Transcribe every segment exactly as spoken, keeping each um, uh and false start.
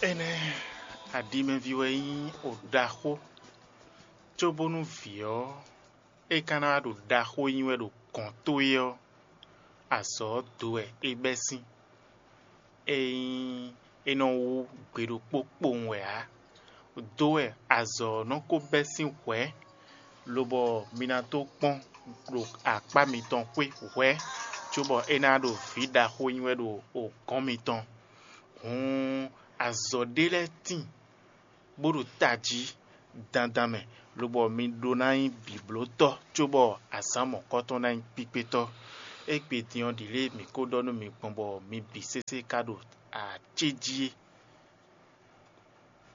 Énɛ́, aɖimɛví wɛ nyí oɖaxó, cóbónú vǐ ɔ́, é ka ná wá ɖo ɖaxó nyi wɛ ɖo gɔ̌n towe ɔ́, azɔ̌ ɔ́ do wɛ é bɛ́ sín. É nyí é nɔ wú gbe ɖokpó kpowun wɛ ǎ. Do wɛ azɔ̌ ɔ́ nɔ ko bɛ́ sín hwɛ̌, lobɔ mi ná tó kpɔ́n ɖo akpá mitɔn xwé hwɛ̌, cóbɔ é ná ɖo vǐ ɖaxó nyi wɛ ɖo gɔ̌n mitɔn. Hǔn azɔ̌ ɖé lɛ́ɛ tíin bó ɖo tají dandan mɛ, lobɔ mi ɖó ná nyí bǐblótɔ́, cóbɔ azǎn mɔ̌kɔtɔn ná nyí kpíkpétɔ́. Égbé din ɔ́, ɖǐ lě mǐ ko ɖɔ nú mi gbɔn bɔ mi bǐ sésé ka ɖo acéjí é.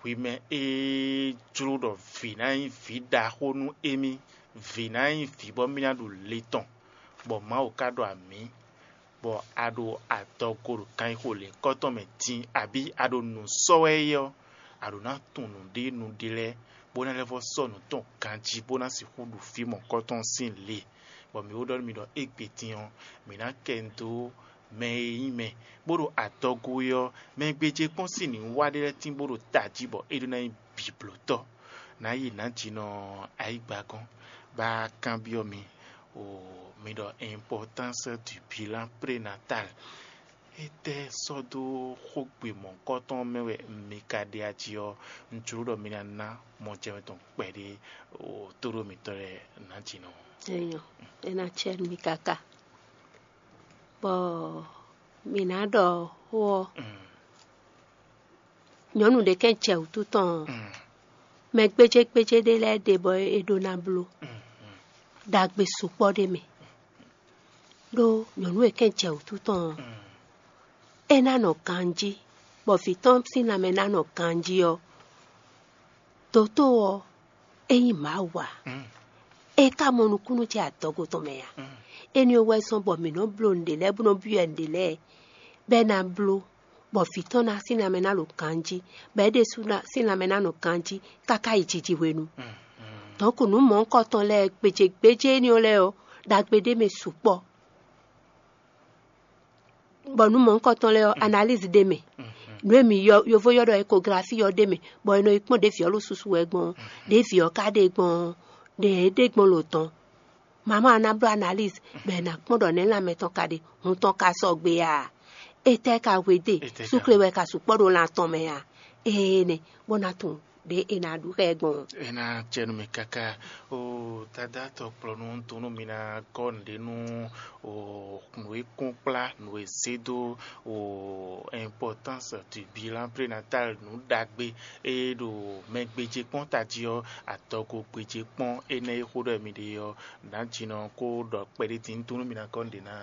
Hwi mɛ e jló ɖɔ vǐ ná nyí vǐ ɖaxó nú émí, vǐ ná nyí vǐ bɔ mì ná ɖu le tɔn, bɔ Mawu ka ɖɔ amǐ, bɔ a ɖo adɔgo ɖo kanxixo lěhunkɔtɔn mɛ din, abǐ a ɖo nǔ sɔ́ wɛ é ɔ́, a ɖǒ ná tunwun nǔɖé nǔɖé lɛ́ɛ, bó ná lɛ́ vɔ́ sɔ́ nǔ tɔn ganjí, bó ná sixú ɖu fí mɔ̌kɔtɔn sín le, bɔ mǐ ó ɖɔ nú mi ɖɔ égbé din ɔ́, mǐ ná kɛ nu dó mɛ e nyí mɛ, bó ɖo adɔgo é ɔ́, mɛ gbéjé kpɔ́n sín nǔwiwa ɖé lɛ́ɛ tín bó ɖo tají, bɔ é ɖó ná nyí bǐblótɔ́. Nǎ yi nǎjínɔ ayǐgbagɔ́n, bá kanbyɔ́ mi, o mi ɖɔ importance du bilan prénatal. Étɛ́ sɔ́ dó xógbe mɔ̌hunkɔtɔn mɛ wɛ mi ka ɖe aji ɔ́, un jló ɖɔ mi ná ná mɔjɛmɛ tɔn kpɛɖé o tóɖó mǐtɔn lɛ́ɛ nǎjínɔ. Enyɔ, é ná cɛ nú mi káká. Bɔ mǐ ná ɖɔ xó ɔ́, nyɔ̌nu ɖě kɛn jɛ wǔtu tɔn ɔ́, mɛ gbéjégbéjé ɖé lɛ́ɛ ɖe bɔ é ɖó ná bló ɖagbe sukpɔ́ ɖé mɛ. Ɖó nyɔ̌nu e kɛn jɛ wǔtu tɔn ɔ́, é ná nɔ ganjí, bɔ vǐ tɔn sín lanmɛ ná nɔ ganjí ɔ́, dǒtó ɔ́, é nyí Mawu ǎ. É ka mɔ nukúnnú ce adɔgo tɔn mɛ ǎ. Énɛ́ ɔ́ wɛ zɔ́n bɔ mǐ nɔ́ bló nǔɖé lɛ́ɛ bó nɔ́ byɔ́ ɛ nǔɖé lɛ́ɛ, bɔ é ná bló, bɔ vǐ tɔn ná sín lanmɛ ná ɖo ganjí, bɔ é ɖésú ná sín lanmɛ ná nɔ ganjí káká yi jiji hwenu. Dɔ̌nku nǔ mɔ̌hunkɔtɔn lɛ́ɛ gbéjégbéjé énɛ́ ɔ́ lɛ́ɛ ɔ́, ɖagbe ɖé mɛ sukpɔ́. Bɔ nǔ mɔ̌hunkɔtɔn lɛ́ɛ ɔ́, analyse ɖé mɛ. Nǔ e mǐ yɔ yovo yɔ ɖɔ échographie ɔ́ ɖé mɛ, bɔ è nɔ yi kpɔ́n ɖě vǐ ɔ́ ɖo susu wɛ gbɔn ɔ́, ɖě vǐ ɔ́ ka ɖe gbɔn ɔ́, ɖě é ɖe gbɔn lǒ tɔn. Mama ɔ́ ná bló analyse, bɔ è nǎ kpɔ́n ɖɔ nɛ̌ lanmɛ tɔn ka ɖe, hun tɔn ka sɔgbe a? Étɛ́ ka hwedó e? Súkle wɛ ka sukpɔ́ ɖo lan tɔn mɛ a? Ee nɛ, bó ná tunwun ɖě è nǎ ɖu xá ɛ gbɔn ɔ́. É ná jɛ nú mì káká. O dadá tɔkplɔ́nú, un tunwun nú mi ná gɔ́ nǔɖé nú o nǔ e kún kplá, nǔ e zé dó o importance du bilan prénatal, nǔ ɖagbe e ɖo mɛ gbéjé kpɔ́n tají ɔ́, adɔgo gbéjé kpɔ́n énɛ́ e xó ɖɔ mi ɖe ɔ́, nǎjínɔ kó ɖɔ kpɛɖé din, un tunwun nú mi ná gɔ́ nǔɖé ná.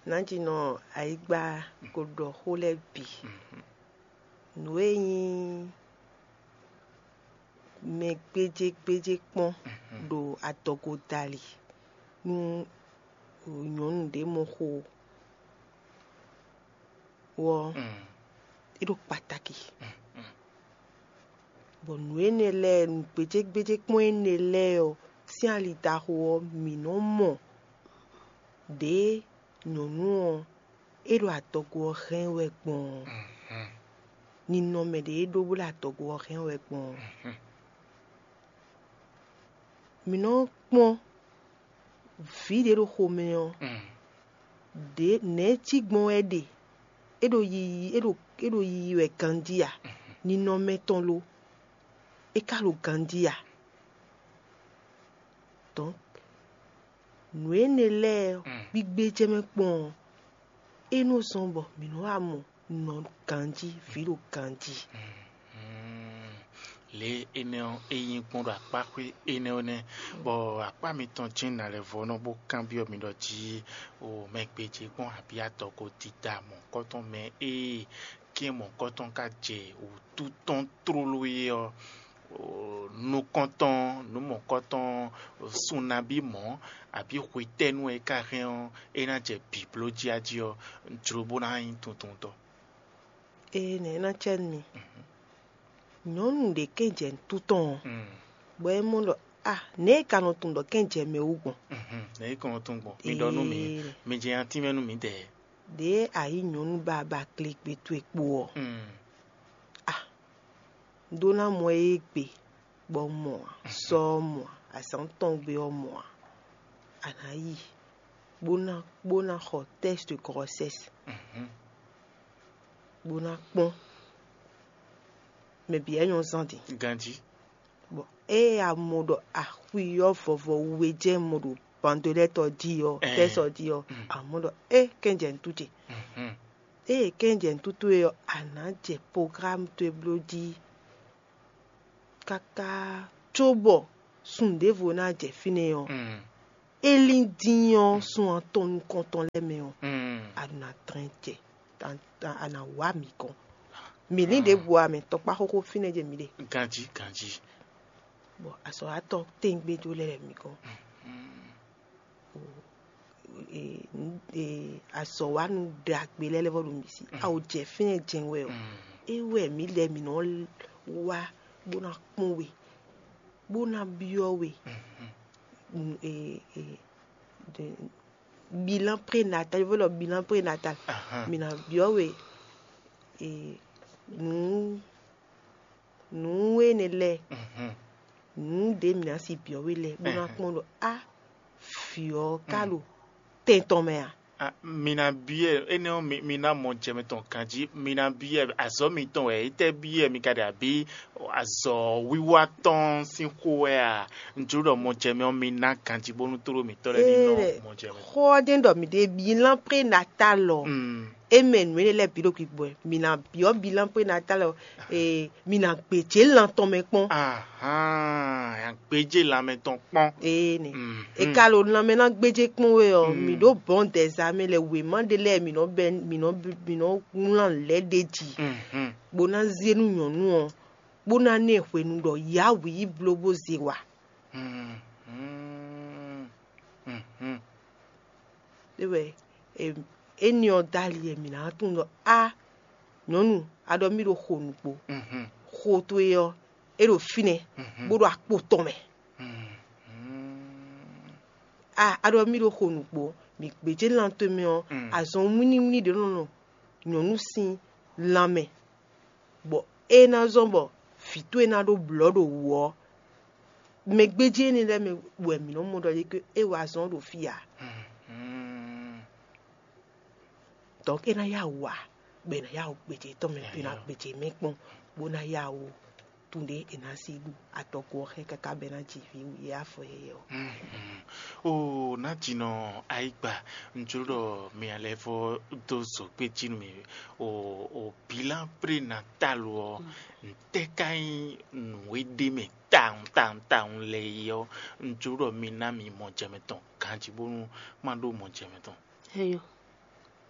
Nǎjínɔ ayǐgba ko ɖɔ xó lɛ́ɛ bǐ. Nǔ e nyí mɛ gbéjégbéjé kpɔ́n ɖo adɔgo dali nú nyɔ̌nu ɖě mɔ xo ɔ́, é ɖo kpataki. Bɔ nǔ énɛ́ lɛ́ɛ, nǔ gbéjégbéjé kpɔ́n énɛ́ lɛ́ɛ ɔ́, sín ali ɖaxó ɔ́, mǐ nɔ́ mɔ ɖě nyɔ̌nu ɔ́ é ɖo adɔgo ɔ́ hɛn wɛ gbɔn ɔ́, ninɔmɛ ɖě é ɖó bó ɖo adɔgo ɔ́ hɛn wɛ gbɔn ɔ́. Mǐ nɔ́ kpɔ́n vǐ ɖě ɖo xomɛ ɔ́, ɖě nɛ̌ cí gbɔn wɛ é ɖe? É ɖo yiyi é ɖo é ɖo yiyi wɛ ganjí a? Ninɔmɛ tɔn lo? É ka ɖo ganjí a? Donc nǔ énɛ́ lɛ́ɛ gbígbé jɛ mɛ kpɔ́n ɔ́, é nɔ zɔ́n bɔ mǐ nɔ́ wá mɔ nɔ ganjí, vǐ ɖo ganjí. Lě énɛ́ ɔ́, é nyí gbɔn ɖo akpáxwé énɛ́ ɔ́ nɛ́, bɔ akpá mitɔn jɛ́n nǎ lɛ́ vɔ́ nɔ bó kanbyɔ́ mi ɖɔ jí o mɛ gbéjé gbɔn abǐ adɔgo dídá mɔ̌kɔtɔn mɛ e kɛ́n mɔ̌kɔtɔn ka jɛ wǔtu tɔn tlóló é ɔ́, nukɔntɔn, nǔ mɔ̌kɔtɔn, sunabí mɔ̌, abǐ hwetɛ́nu e ka hɛn ɔ́, é ná jɛ bǐbló jí a jí ɔ́, jló bó ná nyí tuntuntɔ́. Ee, nɛ̌ é ná cɛ nú mi? Nyɔ̌nu ɖě kɛn jɛ nǔtú tɔn ɔ́, bɔ é mɔ ɖɔ a nɛ̌ é ka nɔ tunwun ɖɔ kɛn jɛ mɛ wú gbɔn? Nɛ̌ é ka nɔ tunwun gbɔn? Mi ɖɔ nú mì, mi jɛ atínmɛ nú mǐdɛɛ. Ɖě a yǐ nyɔ̌nu ba ba kle gbe towe kpo ɔ́, a ɖó ná mɔ ée gbe bɔ mɔ ǎ, sɔ ɔ́ mɔ ǎ, azǎn tɔn gbe ɔ́ mɔ ǎ. A nǎ yi bó ná bó ná xɔ tɛ́st de grɔsɛ́s bó ná kpɔ́n mɛ bǐ wɛ nyɔ́ zán din. Ganjí. Bɔ ée a mɔ ɖɔ axwi ɔ́ vɔvɔ we jɛ́n mɔ ɖo bandolɛ́tɔ jí ɔ́, tɛ́sɔ jí ɔ́, a mɔ ɖɔ é kɛnjɛ nǔtú ce. Ée kɛnjɛ nǔtú towe ɔ́, a nǎ jɛ programme towe bló jí káká cóbɔ sun ɖěvo ná jɛ fínɛ́ ɔ́, é lín dín ɔ́ sun atɔn nukɔntɔn lɛ́ɛ mɛ ɔ́, a ɖo ná dlɛ́n jɛ, a nǎ wá mǐ gɔ́n. Mǐ lín ɖěbǔ ǎ, mɛ tɔkpá xóxó fínɛ́ jɛ mǐ ɖe. Ganjí, ganjí. Bɔ azɔ̌watɔ́ tɛ́ngbɛ́ jó lɛ́ lɛ̌ mǐ gɔ́n. Azɔ̌wanu ɖagbe lɛ́ɛ lɛ́ vɔ ɖo mǐ sí. A wǒ jɛ fínɛ́ jɛ́n wɛ ɔ́, é wɛ mǐ lɛ́ mǐ nɔ wá bó ná kpɔ́n we, bó ná byɔ́ we. Bilan prénatal, yovó lɔ bilan prénatal. Mǐ ná byɔ́ we nǔ nǔ énɛ́ lɛ́ɛ, nǔ ɖě mǐ ná si byɔ́ we lɛ́ɛ bó ná kpɔ́n ɖɔ á vǐ ɔ́ ka ɖo tɛn tɔn mɛ a? Mi ná byɔ́ ɛ énɛ́ ɔ́, mi ná mɔ jɛ mɛ tɔn ganjí. Mi ná byɔ́ ɛ azɔ̌ mitɔn wɛ, étɛ́ byɔ́ ɛ mi ka ɖe abǐ azɔ̌ wiwa tɔn sín xó wɛ a? Un jló ɖɔ mɔ jɛ mɛ ɔ́, mi ná ganjí bónú tlóló mǐtɔn lɛ́ɛ ní nɔ mɔ jɛ mɛ. Xó ɔ́ jɛ́n ɖɔ mǐ ɖe bilan prénatal ɔ́, é mɛ nǔ énɛ́ lɛ́ɛ bǐ ɖo gbigbɔ wɛ. Mǐ ná byɔ́ bilan prénatal ɔ́, mi ná gbějé lan tɔn mɛ kpɔ́n. Ahan, gbéjé lanmɛ tɔn kpɔ́n. Ee nɛ. E ka ɖo lanmɛ ná gbéjé kpɔ́n we ɔ́, mǐ ɖó bɔn dɛzamɛ lɛ wěma ɖé lɛ́ɛ mǐ nɔ bɛ mǐ nɔ mǐ nɔ wlán lɛ̌ ɖé jí, bó ná zé nú nyɔ̌nu ɔ́, bó ná ná ɛ hwenu ɖɔ yǎ wǐ yi bló bó zé wa. É wɛ éní ɔ́ dó ali wɛ mǐ ná tunwun ɖɔ á nyɔ̌nu, a ɖɔ mì ɖo xo nǔgbó. Xo towe ɔ́, é ɖo fínɛ́, bó ɖo akpo tɔn mɛ. A a ɖɔ mì ɖo xo nǔgbó, mǐ gbějé lan towe mɛ ɔ́, azɔn wínníwínní ɖě nɔ nɔ nyɔ̌nu sín lanmɛ, bɔ é ná zɔ́n bɔ vǐ towe ná ɖó blɔ̌ ɖo wǔ ɔ́, mɛ gbéjé énɛ́ lɛ́ɛ mɛ wɛ mǐ nɔ́ mɔ ɖɔ é wa azɔn ɖo fí ǎ. Donc é ná yá wǔ ǎ, bɔ è nǎ yá wǔ gbějé tɔn mɛ, è nǎ gbějé mɛ kpɔ́n, bó ná yá wǔ tun ɖé è nǎ sí ɖu adɔgo ɔ́ xɛ káká bɔ é ná ji vǐ wǔ yá afɔ yɛyɛ ɔ́. Oo, nǎjinɔ ayigba, un jló ɖɔ mi lɛ́ vɔ́ dó zǒgbé jí nú mì. O o bilan prénatal ɔ́, ntɛ́ ka nyí nǔ e ɖ'é mɛ tawun tawun tawun lɛ́ɛ é ɔ́, un jló ɖɔ mi ná mi mɔ jɛ mɛ tɔn ganjí bónú má ɖó mɔ jɛ mɛ tɔn. Eyo,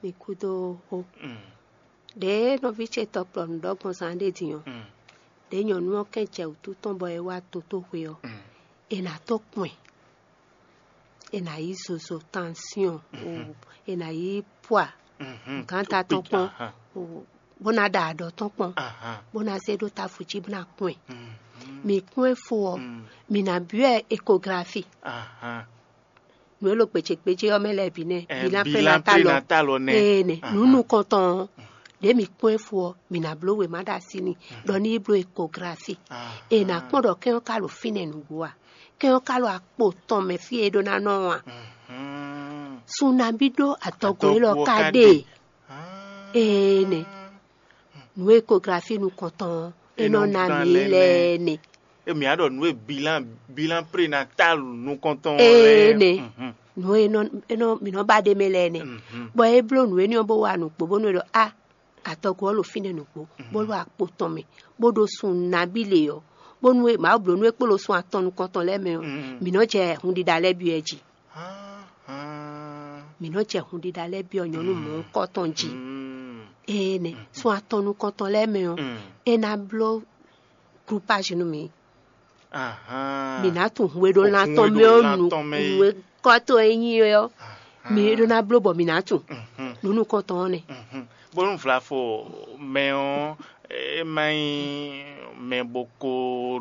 mi kúdó xó. Ɖěe nɔví ce tɔkplɔ́nu ɖɔ gbɔn zán ɖé din ɔ́, ɖěe nyɔ̌nu ɔ́ kɛn jɛ wǔtu tɔn bɔ é wá totóxwe ɔ́, è nǎ tó kpɔn ɛ, è nǎ yí zozo, tansyɔn, è nǎ yí pwa, gǎnta tɔn kpɔn, bó ná ɖa aɖɔ tɔn kpɔn, bó ná zé ɖó távo jí bó ná kpɔn ɛ. Mǐ kpɔ́n ɛ fó ɔ́, mǐ ná byɔ́ ɛ ekografi. Nǔ e ɖo gbějégbéjé ɔ́ mɛ lɛ́ɛ bǐ nɛ́, bilan prénatal ɔ́. Ee nɛ, nǔ nukɔntɔn ɔ́, ɖě mǐ kpɔ́n ɛ fó ɔ́, mǐ ná bló wěma ɖo así n'i, ɖɔ ní yi bló ekografi. È nǎ kpɔ́n ɖɔ kɛ́n ɔ́ ka ɖo fínɛ́ nǔgbó a? Kɛ́n ɔ́ ka ɖo akpo tɔn mɛ fí e é ɖó ná nɔ ɔ́ a? Sun nabí ɖó adɔgo élɔ́ ka ɖe? Ee nɛ, nǔ ekografi nukɔntɔn ɔ́, é nɔ ná mǐ lɛ́ɛ nɛ. Emi a ɖɔ nǔ e bilan bilan prénatal nukɔntɔn ɔ́ lɛ́ɛ. Ee nɛ, nǔ e nɔ e nɔ mǐ nɔ ba ɖ'é mɛ lɛ́ɛ nɛ, bɔ é bló nǔ énɛ́ ɔ́ bó wa nǔgbó bónú é ɖɔ a, adɔgo ɔ́ ɖo fínɛ́ nǔgbó, bó ɖo akpo tɔn mɛ, bó ɖo sun nabí lě ɔ́, bónú é Mawu bló nú é kpo ɖo sun atɔn nukɔntɔn lɛ́ɛ mɛ ɔ́, mǐ nɔ jɛ hunɖiɖa lɛ́ɛ byɔ́ ɛ jí. Mǐ nɔ jɛ hunɖiɖa lɛ́ɛ byɔ́ nyɔ̌nu mɔ̌hunkɔtɔn jí. Ee nɛ, sun atɔn nukɔntɔn lɛ́ɛ mɛ ɔ́, é ná bló glupázi nú mǐ. Mǐ ná tunwun hwe ɖó lan tɔn mɛ ɔ́ nu, nǔ e kɔ́ towe nyí é ɔ́, mǐ ɖó ná bló bɔ mǐ ná tunwun. Nǔ nukɔntɔn ɔ́ nɛ́. Bónú vlafo mɛ ɔ́, é má nyí mɛ bó ko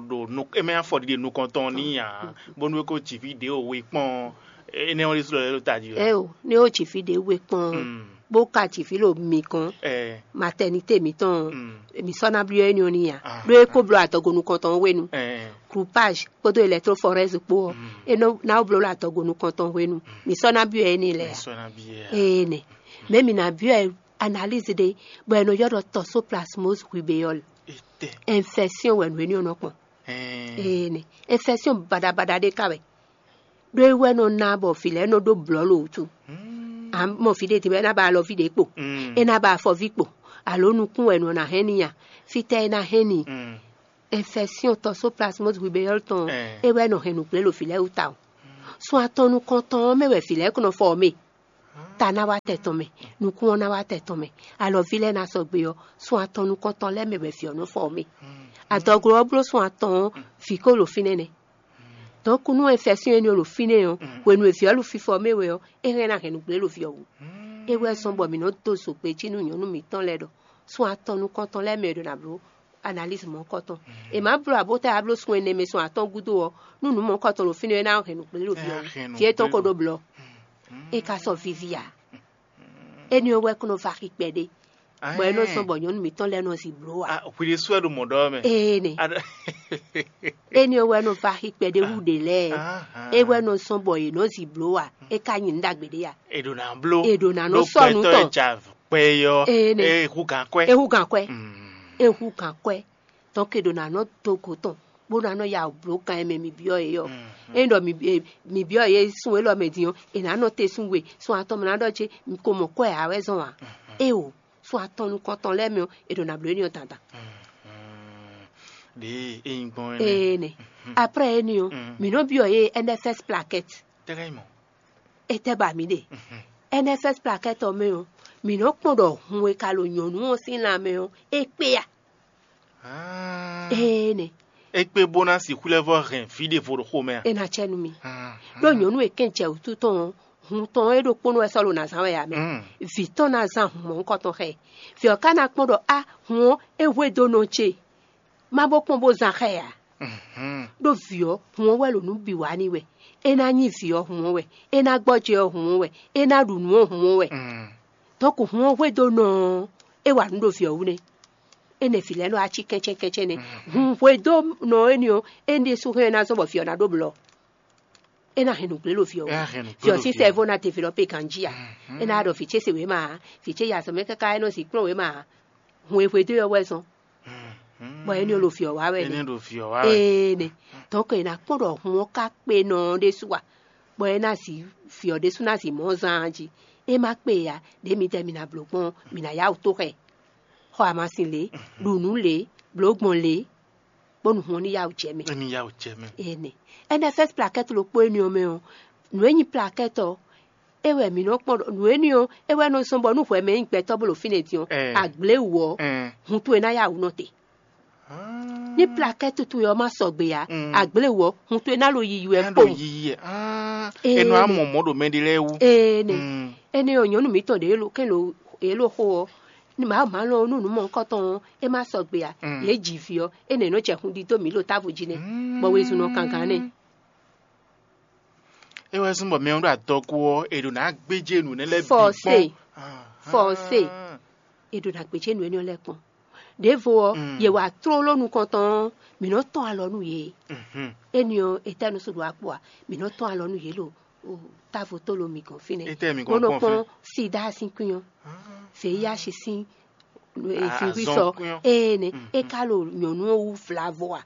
ɖo é má nyí afɔɖiɖe nukɔntɔn n'i ǎ, bónú é ko ji vǐ ɖě o we kpɔ́n ɔ́, énɛ́ ɔ́ ɖésú lɔ é ɖo tají wɛ. Ɛ o, ní ó ji vǐ ɖě we kpɔ́n ɔ́, bó ka ji vǐ ɖo mǐ gɔ́n, matɛnité mǐtɔn ɔ́, mǐ sɔ́ ná byɔ́ énɛ́ ɔ́ n'i ǎ. Ɖó é ko bló adɔgo nukɔntɔn ɔ́ hwenu, groupage kpódó électrophorèse kpó ɔ́, é nɔ ná bló ɖo adɔgo nukɔntɔn hwenu. Mǐ sɔ́ ná byɔ́ énɛ́ lɛ́ɛ ǎ. Ee nɛ. Mɛ̌ mǐ ná byɔ́ ɛ analyse ɖé, bɔ è nɔ ylɔ́ ɖɔ toxoplasmose rubéole. Infection wɛ nǔ énɛ́ ɔ́ nɔ kpɔn. Ee nɛ. Infection baɖabaɖa ɖé ka wɛ. Ɖó é wɛ nɔ ná bɔ vǐ lɛ́ɛ nɔ ɖó blɔ̌ ɖo wútu. A mɔ vǐ ɖé din bɔ é ná ba alɔví ɖě kpo, é ná ba afɔví kpo, alo nukún wɛ nɔ ná hɛn n'i a? Fítɛ́ é ná hɛn n'i? Infection toxoplasmose rubéole tɔn, é wɛ nɔ hɛn nǔgblé ɖo vǐ lɛ́ɛ wú tawun. Sun atɔn nukɔntɔn ɔ́ mɛ wɛ vǐ lɛ́ɛ ko nɔ fɔ ɔ́ mɛ. Ta ná wá tɛ tɔn mɛ, nukún ɔ́ ná wá tɛ tɔn mɛ, alɔví lɛ́ɛ ná sɔgbe ɔ́, sun atɔn nukɔntɔn lɛ́ɛ mɛ wɛ vǐ ɔ́ nɔ fɔ ɔ́ mɛ. Adɔglo ɔ́ bló sun atɔn ɔ́, vǐ ko ɖo fínɛ́ nɛ́. Donc nú infection énɛ́ ɔ́ ɖo fínɛ́ ɔ́, hwenu e vǐ ɔ́ ɖo fífɔ mɛ wɛ ɔ́, é hɛn ná hɛn nǔgblé ɖo vǐ ɔ́ wú. É wɛ zɔ́n bɔ mǐ nɔ́ dó zogbe jí nú nyɔ̌nu mǐtɔn lɛ́ɛ ɖɔ sun atɔn nukɔntɔn lɛ́ɛ mɛ è ɖo ná bló analyse mɔ̌hunkɔtɔn. È má bló abota e a bló sun ɛnɛ mɛ sun atɔn gúdo ɔ́, nú nǔ mɔ̌hunkɔtɔn ɖo fínɛ́ ɔ́, é ná hɛn nǔgblé ɖo vǐ ɔ́ wú. Vǐ étɔn ko ɖó blɔ, é ka sɔ́ víví ǎ. Énɛ́ ɔ́ wɛ kún nɔ va xi kpɛɖé, bɔ é nɔ zɔ́n bɔ nyɔ̌nu mǐtɔn lɛ́ɛ nɔ zi bló ǎ. Hwi ɖésú wɛ ɖo mɔ̌ ɖɔ mɛ. Ee nɛ. Énɛ́ ɔ́ wɛ nɔ va xi kpɛɖé hú ɖě lɛ́ɛ. É wɛ nɔ zɔ́n bɔ yě nɔ zi bló ǎ. É ka nyi nǔ ɖagbe ɖé ǎ. È ɖo ná bló. È ɖo ná nɔ sɔ́ nǔ tɔn. Kpɛ ɔ́, Ee nɛ. É hú gǎn kwɛ́. É hú gǎn kwɛ́. É hú gǎn kwɛ́. Donc è ɖo ná nɔ dó go tɔn, bó ná nɔ ya wǔ bló gan e mɛ mi byɔ́ é ɔ́. Ényí ɖɔ mi byɔ́ yě sun élɔ́ mɛ din ɔ́, è nǎ nɔ te sun we, sun atɔn mɛ ná ɖɔ ce, mi ko mɔ kwɛ́ ǎ wɛ zɔn ǎ. Éeǒ, sun atɔn nukɔntɔn lɛ́ɛ mɛ ɔ́, è ɖo nǎ bló énɛ́ ɔ́ dandan. Ɖěe é nyí gbɔn énɛ́. Ee nɛ. Après énɛ́ ɔ́, mǐ nɔ byɔ́ yě N F S plaquette. Tɛ́ ka nyí mɔ̌? Etɛ́ ba mǐ ɖe? N F S plaquette ɔ́ mɛ ɔ́, mǐ nɔ kpɔ́n ɖɔ hun e ka ɖo nyɔ̌nu ɔ́ sín lanmɛ ɔ́, é kpé a? Ee nɛ. É kpé bó ná sixú lɛ́ vɔ́ hɛn vǐ ɖěvo ɖo xomɛ a? É ná cɛ nú mì. Ɖó nyɔ̌nu e kɛn jɛ wǔtu tɔn ɔ́, hun tɔn ɔ́ é ɖokpónɔ wɛ sɔ́ ɖo ná zán wɛ ǎ mɛ. Vǐ tɔn ná zán hun mɔ̌hunkɔtɔn xá ɛ. Vǐ ɔ́ ka ná kpɔ́n ɖɔ á, hun ɔ́ é hwedó nɔ ce. Má bó kpɔ́n bó zán xá ɛ ǎ. Ɖó vǐ ɔ́, hun ɔ́ wɛ ɖo nǔ bǐ wa n'i wɛ. É ná nyí vǐ ɔ́, hun ɔ́ wɛ. É ná gbɔjɛ́ ɔ́, hun ɔ́ wɛ. É ná ɖu nǔ ɔ́, hun ɔ́ wɛ. Donc hun ɔ́ hwedó nɔ ɔ́, é wa nǔ ɖo vǐ ɔ́ wú nɛ́. Énɛ́ vǐ lɛ́ɛ nɔ wá cí kɛ́nchɛ́n kɛ́nchɛ́n nɛ́. Hun hwedó nɔ énɛ́ ɔ́, énɛ́ ɖésú hɛn ná zɔ́n bɔ vǐ ɔ́ ná ɖó blɔ. É ná hɛn nǔgblé ɖo vǐ ɔ́ wú. Vǐ ɔ́ sín sɛ́vó ná develɔpé ganjí a? É ná ɖɔ vǐ ce se wěma ǎ, vǐ ce yi azɔ̌ mɛ káká é nɔ zǐ kplɔ́n wěma ǎ. Hun e hwedó ɔ́ wɛ zɔn, bɔ énɛ́ ɔ́ ɖo vǐ ɔ́ wá wɛ nɛ́. Ee nɛ. Donc è nǎ kpɔ́n ɖɔ hun ɔ́ ka kpe nɔ ɔ́ ɖésú a, bɔ é ná zi vǐ ɔ́ ɖésú ná zi mɔ̌ zán jí. É má kpe ǎ, ɖě midɛɛ mi ná bló gbɔn ɔ́, mi ná yá wǔ tó xɛ. Xɔ amasin lě, ɖu nǔ lě, blǒ gbɔn lě, bónú hun ɔ́ ní yá wǔ jɛ mɛ. Ní yá wǔ jɛ mɛ. Ee nɛ. N F S plaquette ɖokpó énɛ́ ɔ́ mɛ ɔ́, nǔ e nyí plaquette ɔ́, é wɛ mǐ nɔ kpɔ́n ɖɔ nǔ énɛ́ ɔ́, é wɛ nɔ zɔ́n bɔ nú hwɛ mɛ nyí gbɛtɔ́ bó ɖo fínɛ́ din ɔ́, agblé wǔ ɔ́, hun towe ná yá wǔ nɔ te. Ní plaquette towe ɔ́ má sɔgbe ǎ, agblé wǔ ɔ́, hun towe ná ɖo yiyi wɛ kpowun. Yiyi ɛ. Ee, Enɔ amɔ mɔ ɖo mɛ ɖé lɛ́ɛ wú. Ee nɛ. Énɛ́ ɔ́, nyɔ̌nu mǐtɔn ɖě é ɖo xo ɔ́, ní mǎ má lɔn nú nǔ mɔ̌hunkɔtɔn ɔ́, é má sɔgbe ǎ. Yě ji vǐ ɔ́, énɛ́ nɔ jɛ hun ɖidó mǐ ɖo távo jí nɛ́, bɔ wezun nɔ kangán nɛ́. É wɛ zɔ́n bɔ mɛ ɔ́ ɖo adɔgo ɔ́, è ɖo ná gbéjé nǔ énɛ́ lɛ́ɛ bǐ Forcé. Kpɔ́n. Forcé. È ɖo ná gbéjé nǔ énɛ́ lɛ́ɛ kpɔn. Ɖěvo ɔ́, yě wá tlóló nukɔntɔn ɔ́, mǐ nɔ tɔ́n alɔ nú yě. Énɛ́ ɔ́, etɛ́ nú sɔ́ ɖo akpo a? Mǐ nɔ tɔ́n alɔ nú yě ɖo távo tó lo mǐ gɔ́n fínɛ́. Etɛ́ mǐ gɔ́n bó nɔ kpɔ́n kpɔ́n fínɛ́? Sida sín kwín ɔ́, V I H sín virus ɔ́, ee nɛ é ka ɖo nyɔ̌nu ɔ́ wú vlavo a?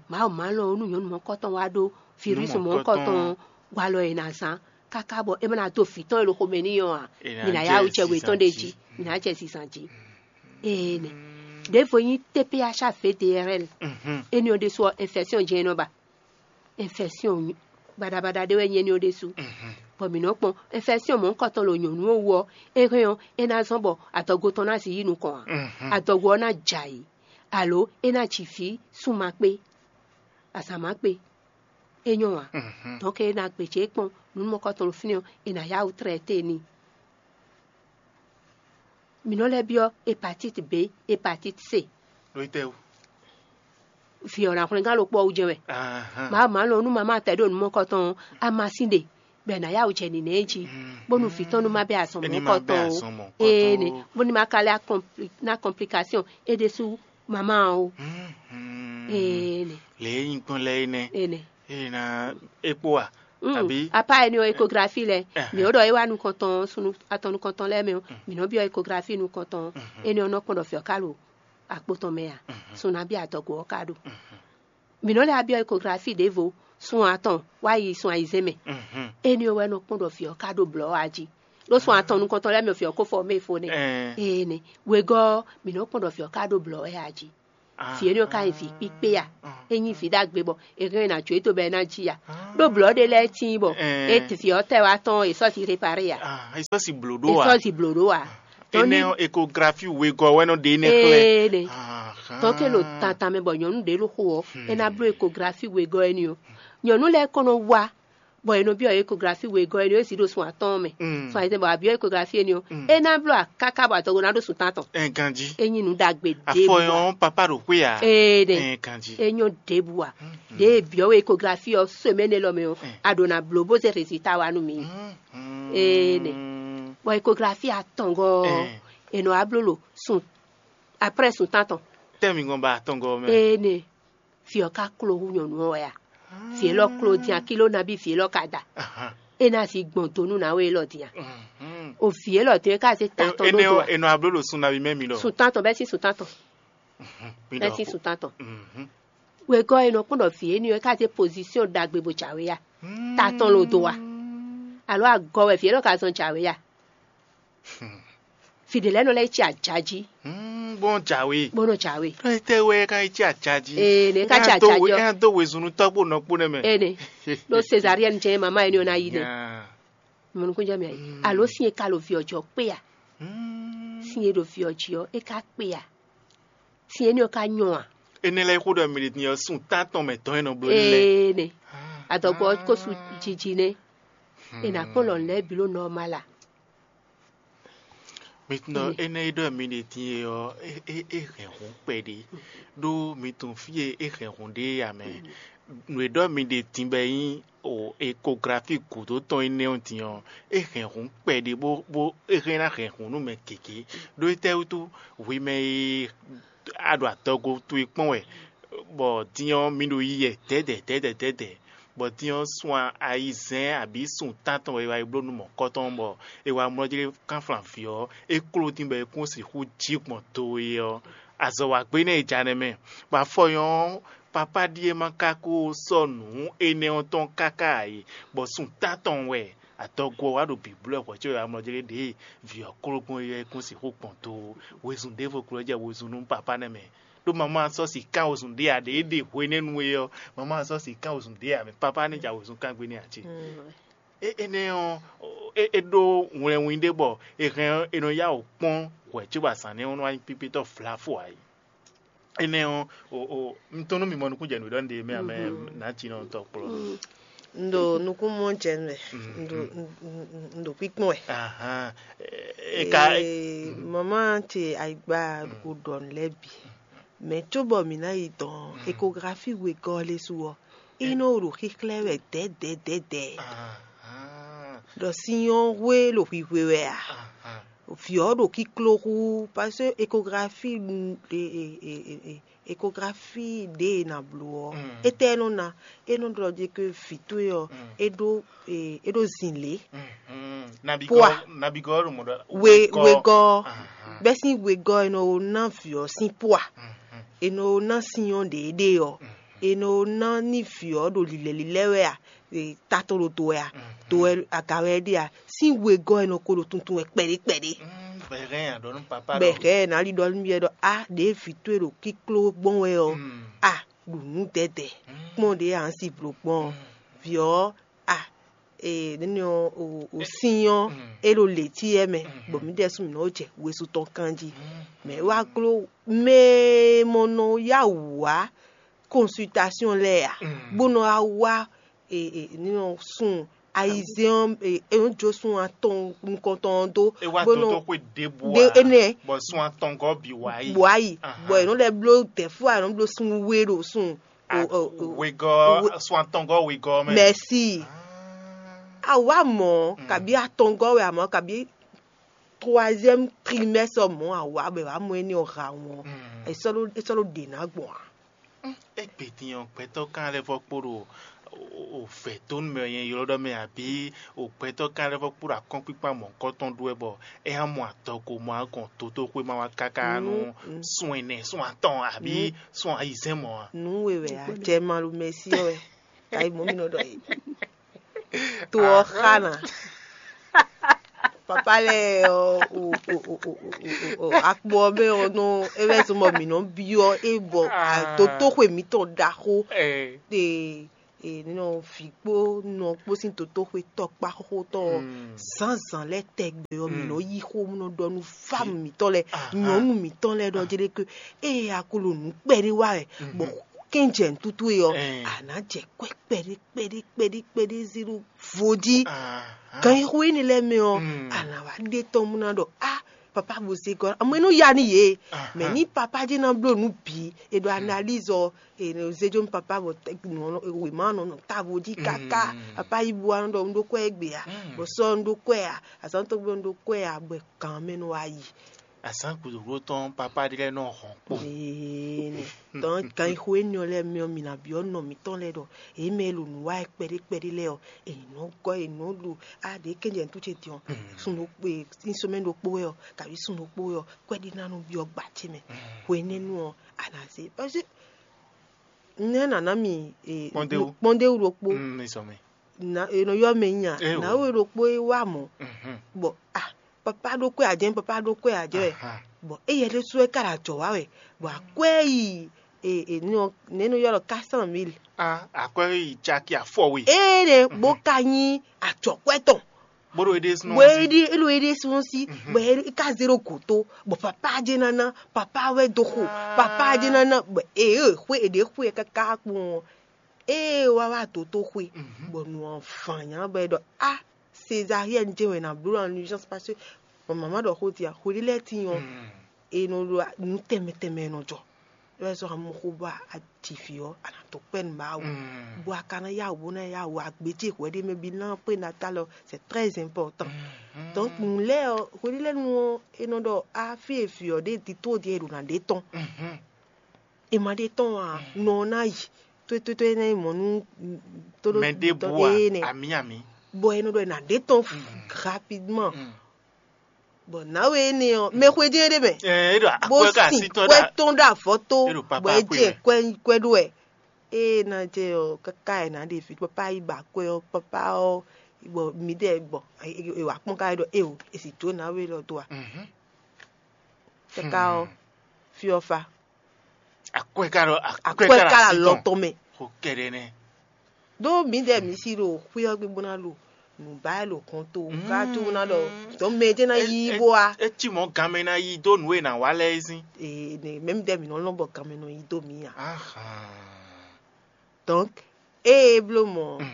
Mawu má lɔn nú nyɔ̌nu mɔ̌kɔtɔn wá ɖó virus mɔ̌kɔtɔn walɔ e ná zán káká bɔ é má ná dó vǐ tɔn e ɖo xomɛ n'i ɔ́ ǎ. Mǐ ná yá wǔ jɛ wětɔn ɖé jí, mǐ ná jɛ zizan jí. Ee nɛ. Ɖěvo nyí T P H A V D R L. Énɛ́ ɔ́ ɖésú ɔ́, infection jɛ́n é nɔ ba. Infection baɖabaɖa ɖé wɛ nyí énɛ́ ɔ́ ɖésú. Bɔ mǐ nɔ kpɔn infection mɔ̌hunkɔtɔn ɖo nyɔ̌nu ɔ́ wú ɔ́, é hɛn ɔ́, é ná zɔ́n bɔ adɔgo tɔn ná si yí nukɔn ǎ. Adɔgo ɔ́ ná jɛ ayǐ, alo é ná ji vǐ sunma kpé, azǎn má kpé. É nyɔ́ ǎ. Donc é ná gbějé kpɔ́n nǔ mɔ̌hunkɔtɔn ɖo fínɛ́ ɔ́, è nǎ yá wǔ tlɛ téé n'i. Mǐ nɔ lɛ́ byɔ́ hepatite B, hepatite C. Ɖó tɛ́ wú? Vǐ ɔ́ ná hwlɛ́ngán ɖokpó ɔ́ wú jɛ́n wɛ. Má má lɔn nú mamá tɛ ɖo nǔ mɔ̌hunkɔtɔn ɔ́, amasin ɖe. bɔ è nǎ yá wǔ jɛ nǐnɛ jí, bónú vǐ tɔn nú má bɛ́ azɔn mɔ̌kɔtɔn o. Ee nɛ, bónú má ka lɛ́ ná kɔnplikasiɔn é ɖésú mamá o. Ee nɛ. Lě e nyí gbɔn lɛ́ɛ é nɛ́. Ee nɛ. Ee ná é kpó a? Àbí? Apá ɛni ɔ, ekografi lɛ, mǐ ó ɖɔ é wá nukɔntɔn, sunu atɔn nukɔntɔn lɛ́ɛ mɛ ɔ́, mǐ nɔ byɔ́ ekografi nukɔntɔn. Énɛ́ ɔ́ nɔ kpɔ́n ɖɔ fɛ̌ ɔ́ ka ɖo akpo tɔn mɛ a? Sun nabí adɔgo ɔ́ ka ɖo. Mǐ nɔ lɛ́ byɔ́ ekografi ɖěvo, sun atɔn wá yi sun ayizɛ́n mɛ. Énɛ́ ɔ́ wɛ nɔ kpɔ́n ɖɔ fɛ̌ ɔ́ ka ɖo blɔ̌ a jí. Ɖó sun atɔn nukɔntɔn lɛ́ɛ mɛ ɔ́, fɛ̌ ɔ́ ko fɔ mɛ fo nɛ́. Ee nɛ, wegɔ́ ɔ́, mǐ nɔ kpɔ́n ɖɔ fɛ̌ ɔ́ ka ɖo blɔ̌ wɛ a jí. Vǐ énɛ́ ɔ́ ka nyí vǐ kpíkpé a? É nyí vǐ ɖagbe bɔ è hɛn ɛ ná jó e dó bɔ é ná jí a? Ɖó blɔ̌ ɖé lɛ́ɛ tíin bɔ é vǐ ɔ́ tɛ wá tɔn è sɔ́ si réparé a? È sɔ́ si blǒ ɖó a? È sɔ́ si blǒ ɖó a? Tɔn ní Énɛ́ ɔ́, ekografi wegɔ́ wɛ nɔ ɖe énɛ́ xlɛ́. Ee nɛ. Tɔn ke ɖo tantan mɛ bɔ nyɔ̌nu ɖě ɖo xo ɔ́, é ná bló ekografi wegɔ́ énɛ́ ɔ́. Nyɔ̌nu lɛ́ɛ kɔn nɔ wá bɔ è nɔ byɔ́ ekografi wegɔ́ énɛ́ ɔ́, é zǐ ɖo sun atɔ́ɔ́n mɛ. Sun ayizɛ́n bɔ a byɔ́ ekografi énɛ́ ɔ́, é ná bló akáká bɔ adɔgo ná ɖó sun tántɔn. Ɛ ganjí. É nyí nǔ ɖagbe ɖěbǔ. Afɔ ɔ́, papa ɖo xwé a? Ee ɖe. Ɛ ganjí. É nyɔ́ ɖěbǔ a? Ɖě e byɔ́ we ekografi ɔ́, semɛ́ni élɔ́ mɛ ɔ́, a ɖǒ ná bló bó zé résultat wá nú mi. Ee nɛ. Bɔ ekografi atɔngɔ́ ɔ́, è nɔ wá bló ɖo sun, aprɛ́ sun tántɔn. Tɛ́ mi gɔn ba atɔngɔ́ mɛ. Ee nɛ. Vǐ ɔ́ ka kló hú nyɔ̌nu ɔ́ wɛ a? Vǐ élɔ́ kló dín akíló nabí vǐ élɔ́ ka da? É ná zi gbɔn do nú nǎwe élɔ́ dín a? O vǐ élɔ́ dín é ka zé ta tɔn ɖó do a? È nɔ abló ɖo sun nabí mɛ mi ɖɔ. Sun tántɔn bɛ́ sín sun tántɔn. Bɛ́ sín sun tántɔn. Wegɔ́ è nɔ kpɔ́n ɖɔ vǐ énɛ́ ɔ́ é ka zé pozisyon ɖagbe bó jǎwe a? Ta tɔn lo do a? Alǒ agɔ wɛ vǐ élɔ́ ka zɔn jǎwe a? Vǐ ɖé lɛ́ɛ nɔ lɛ́ yi cí aja jí. Bó nɔ jǎwe. Bó nɔ jǎwe. Ɖó étɛ́ wɛ é ka yi cí aja jí? Ee, nɛ é ka cí aja jí ɔ́. É ná dó wezun nú tɔ́gbó nɔkpó nɛ́ mɛ. Ee nɛ. Ɖó Cézarienne jɛ́n mama énɛ́ ɔ́ ná yi nɛ. Mɔnukúnjɛ mɛ ayi. Alo sín e ka lo vǐ ɔ́ jí ɔ́ kpé a? Sín e ɖo vǐ ɔ́ jí ɔ́, é ka kpé a? Sín énɛ́ ɔ́ ka nyɔ a? Énɛ́ lɛ́ɛ xó ɖɔ mì ɖe din ɔ́, sun tántɔn mɛ tɔn e nɔ bló ní lɛ́ɛ. Ee nɛ. Adɔgbɔ ɔ́ ko su jiji nɛ́. È nǎ kpɔ́n lɔ̌n lɛ́ɛ bǐ ɖo nɔ́ ɔ́ má la. Mi tunɔ énɛ́ e ɖɔ mi ɖe din e ɔ́, é é é hɛn hǔn kpɛɖé, ɖó mi tunwun fí e é hɛn hǔn ɖe é ǎ mɛ. Nǔ e ɖɔ mi ɖe din bɔ é nyí o ekografi gǔdo tɔn énɛ́ ɔ́ din ɔ́, é hɛn hǔn kpɛɖé bó bó é hɛn ná hɛn hǔn nú mɛ gěgé. Ɖó étɛ́ wútu hwi mɛ e a ɖo adɔgo towe kpɔ́n wɛ, bɔ din ɔ́ mi ɖo yiyɛ dɛ̌dɛ̌ dɛ̌dɛ̌ dɛ̌dɛ̌, bɔ din ɔ́ sun ayizɛ́n abǐ sun tántɔn wɛ è wá yi bló nú mɔ̌kɔtɔn, bɔ è wá mlɔ́ jlé kánflán vǐ ɔ́, é kló dín bɔ é kún sixú jí gbɔn do e ɔ́, azɔ̌ wa gbé nɛ́ è ja nɛ́ mɛ, bɔ afɔ nyɔ́ ɔ́, papá ɖíe ma ka ko sɔ́ nǔ énɛ́ ɔ́ tɔn káká ǎ é, bɔ sun tántɔn wɛ adɔgo ɔ́ wá ɖo bǐblɔ́ hwɛ̌ có è wá mlɔ́ jlé ɖě vǐ ɔ́ kló gbɔn é ɔ́, é kún sixú gbɔn do. Wezun ɖěvo glɔ́ jɛ wezun nú papá nɛ́ mɛ. Ɖó mamá sɔ́ sǐ kán wezun ɖé ǎ, ɖě é ɖe hwenɛ́nu é ɔ́, mamá sɔ́ sǐ kán wezun ɖé ǎ mɛ. Papá ní ja wezun kán gbe n'i ǎ ce. É énɛ́ ɔ́, é é ɖó wlɛnwin ɖé bɔ è hɛn ɔ́, è nɔ yá wǔ kpɔ́n hwɛ̌ cóbɔ azǎn nɛ́ ɔ́ nɔ wá nyí kpíkpétɔ́ vlavo ǎ é. Énɛ́ ɔ́, o o un tɔ́n nú mi mɔ nukúnjɛnǔ ɖɔ un ɖe mɛ amɛ nǎjínɔtɔ́ kplɔ́. Un ɖo nukúnmɔ jɛ nɛ. Un ɖo un- un- un- un ɖo kpíkpɔ́n wɛ. Ahan. E ka Ee, mama ce ayigba o ɖɔ nǔ lɛ́ɛ bǐ. Mɛ cóbɔ mǐ ná yi dɔn ekografi wegɔ́ lé su ɔ́, é nɔ ɖo xíxlɛ́ wɛ dɛ̌dɛ̌dɛ̌dɛ̌. Ahan. Ɖɔ sin ɔ́ hwe ɖo hwihwe wɛ a? Ahan. Vǐ ɔ́ ɖo kíkló hú, parce que échographie, mm, e- e- e- e- e- échographie ɖě e nǎ bló ɔ́, étɛ́ é nɔ ná? É nɔ ɖɔ ɖe ke vǐ towe ɔ́, é ɖó e- é ɖó zǐnlé. Nabigɔ Poa. Nabigɔ ɖo mɔ ɖɔ We- wegɔ́. Bɛ́ sín wegɔ́ è nɔ ná vǐ ɔ́ sín poa, è nɔ ná sin ɔ́ ɖě ɖe ɔ́, è nɔ ná ní vǐ ɔ́ ɖo lilɛ̌lilɛ́ wɛ a? E, ta tɔn ɖo do wɛ a? Do wɛ aga wɛ é ɖe a? Sín wegɔ́ è nɔ ko ɖo tuntun wɛ kpɛɖé kpɛɖé. Bɛhɛn a ɖɔ nú papa ɖɔ. Bɛhɛn ná li ɖɔ nú yɛ ɖɔ a ɖě vǐ towe ɖo kíkló gbɔn wɛ ɔ́, a ɖu nǔ dɛdɛ kpɔn ɖě a si blo gbɔn ɔ́, vǐ ɔ́ a e nɛnɛ ɔ́ o o sin ɔ́ é ɖo lě cí yɛ mɛ, bɔ mǐ ɖɛ́ sún mǐ nɔ jɛ wezun tɔn kan jí. Mɛ wá gló mɛ e mɔ nɔ yá wǔ wá consultation lɛ́ɛ a, bó nɔ wá wá e e nínɔ sun ayizɛ́n ɔ́ e e nɔ jó sun atɔn nukɔntɔn ɔ́ dó, É wá bó nɔ dó xwe ɖěbǔ ɖe ǎ, énɛ́ bɔ sun atɔngɔ́ bǐ wá yi. Bɔ ayi Ahan. Bɔ è nɔ lɛ́ bló dɛ̌fú a è nɔ bló sun we ɖo sun o o o Wegɔ́ we- sun atɔngɔ́ wegɔ́ mɛ. Mɛsi. Ah. A wǎ mɔ̌, kabí atɔngɔ́ wɛ a mɔ̌, kabí troisième trimestre mɔ̌ a wǎ bɔ è wǎ mɔ éní ɔ́ ha wɔn. È sɔ́ ɖó è sɔ́ ɖó ɖě ná gbɔn a? Égbé din ɔ́, gbɛtɔ́ kan lɛ́ vɔ kpo ɖo o vɛ̌ dó nú mɛ e nyɛ ylɔ́ ɖɔ mɛ abǐ o gbɛtɔ́ kan lɛ́ vɔ kpo ɖo akɔ́nkpíkpá mɔ̌hunkɔtɔn ɖu wɛ bɔ é hán mɔ adɔgo mɔ agɔn dotóxwé ma wá káká nú sun ɛnɛ, sun atɔn abǐ sun ayizɛ́n mɔ̌ a? Nǔ we wɛ a jɛ malu mɛsí ɔ́ wɛ. Tayi mɔ mi nɔ ɖɔ yě. To ɔ́ xa na. Papa lɛ ɔ o o o o o o o akpo ɔ́ mɛ ɔ́ nɔ é wɛ zɔn bɔ mǐ nɔ byɔ́ é bɔ dotóxwe mǐtɔn ɖaxó. Ɛ e nɔ vǐ kpó nɔ kpó sín dotóxwe tɔkpá xóxótɔn ɔ́, zǎnzǎn lɛ́ɛ tɛgbɛ ɔ́ mǐ nɔ yí xó nɔ ɖɔ nú fámu mǐtɔn lɛ́ɛ, nyɔ̌nu mǐtɔn lɛ́ɛ ɖɔ jɛɖɛ́ ké ée a ko ɖo nǔ kpɛɖé wa wɛ bɔ kɛ́njɛ nǔtútú e ɔ́, a nǎ jɛ kwɛ́ kpɛɖé kpɛɖé kpɛɖé kpɛɖé zé ɖó vo jí. Ganxixo énɛ́ lɛ́ɛ mɛ ɔ́, a nǎ wá ɖe tɔn mú ná ɖɔ á papa bo zé gɔ́ amɔ é nɔ ya nú yě. Mɛ ní papa jɛ́n ná bló nǔ bǐ è ɖo analyse ɔ́, è nɔ zé jó nú papa bɔ wěma nɔ nɔ távo jí káká. Papa yí bo wá nɔ ɖɔ un ɖó kwɛ́ égbé a bɔ sɔ́ un ɖó kwɛ́ a azǎn tɔn gbé un ɖó kwɛ́ a bɔ gǎn mɛ nɔ wá yi. Azǎn gǔdo tɔn papa ɖé lɛ́ɛ nɔ hɔn kpo. Ee, tɔn ganxixo énɛ́ ɔ́ lɛ́ɛ mɛ ɔ́, mi ná byɔ́ nɔ mǐtɔn lɛ́ɛ ɖɔ èyí mɛ e ɖo nǔ wa wɛ kpɛɖé kpɛɖé lɛ́ɛ ɔ́, èyí nɔ gɔ́ èyí nɔ ɖo a ɖě kɛnjɛ nǔtú ce din ɔ́, sun ɖokpó e sín sɔmɛ ɖokpó wɛ ɔ́, kabi sun ɖokpó wɛ ɔ́, kwɛ́ɖí ná nɔ byɔ́ gbǎ ce mɛ. Hwenɛ́nu ɔ́, a nǎ zé parce que nɛ́ nǎ ná mi kpɔ́ndéwú ɖokpó. Nɔ yɔ mɛ nya nǎwe ɖokpó e wá mɔ̌ bɔ ah papa ɖó kwɛ ajɛ papa ɖó kwɛ ajɛ wɛ bɔ éyɛ ɖésú wɛ ka ɖo ajɔ wá wɛ bɔ akwɛ yi nɛ́ nɔ ylɔ́ quatre cent mille. Akwɛ yi caki afɔ we. Ée ɖe bó ka nyí ajɔkwɛ tɔn bó ɖo éɖésúnɔ bó éɖi éɖo éɖésúnɔ sí bɔ é ka zé ɖo gǒ tó bɔ papa jɛ nana papa wɛ dó xo papa jɛ nana bɔ ee xwe eɖe xwe kaka kpɔn ee wá wá dó tó xwe bɔ nǔ ɔ́ fǎn nyá bɔ é ɖɔ a césarienne jɛ wɛ ná bló en urgence parce que mama ɖɔ xó dia xwe ɖé lɛ́ɛ tín ɔ́ e nɔ ɖo nǔ tɛnmɛ tɛnmɛ e nɔ jɔ é wɛ sɔ́ amɔxó bɔ a ji vǐ ɔ́ a nǎ dó kpɛ́ nǔ ba wú bɔ a ka ná yá wǔ bó ná yá wǔ agbejí hwɛ ɖé mɛ bí ná prénatal ɔ́ c'est très important. Donc nǔ lɛ́ɛ ɔ́ hweɖélɛ́nu ɔ́ é nɔ ɖɔ a fí e vǐ ɔ́ ɖe tito ɖíe è ɖo ná ɖe tɔn è ma ɖe tɔn ǎ nɔ ɔ́ ná yi tótótó é ná yi mɔ̌ nú tóɖó mɛ ɖěbǔ a énɛ́ ami ami bɔ è nɔ ɖɔ è nǎ ɖe tɔn rapidement. Bɔ nǎwe énɛ́ ɔ́ mɛ xwedó é ɖé mɛ Ɛ, é ɖo bó akwɛ́ ka sin así tɔn kwɛ ɖa tɔn ɖo avɔ tó É ɖo papa bɔ é akwɛ́ jɛ mɛ. Kwɛ kwɛ ɖó wɛ ée ná jɛ ɔ́ káká ɛ ná ɖe vi papa yi ba kwɛ ɔ́ papa ɔ́ bɔ mi ɖɛ bɔ e wà kpɔn ká ɖɔ e o e sì jó nǎwe lɔ dó a Mhm. Káká ɔ́ fi ɔ́ fa Akwɛ́ ka ɖo akwɛ́ akwɛ́ ka ká ɖo la así lɔ tɔn tɔn mɛ xo kɛɖɛ nɛ. Ɖó mǐdɛɛ mǐ sí ɖo xwé ɔ́ gbe bó ná ɖo nǔ ba wɛ ɖo hɔn to ká tó bó ná ɖɔ dɔ̌n mɛ jɛ́n ná yí bó wá. Etí mɔ̌ ganmɛ ná yí dó nǔ e nǎ wa lɛ́ɛ é sín. Ee ne mɛ mǐdɛɛ mǐ nɔ lɔn bɔ ganmɛ nɔ yí dó mǐ ǎ. Ahan. Donc ée é bló mɔ̌ ɔ́,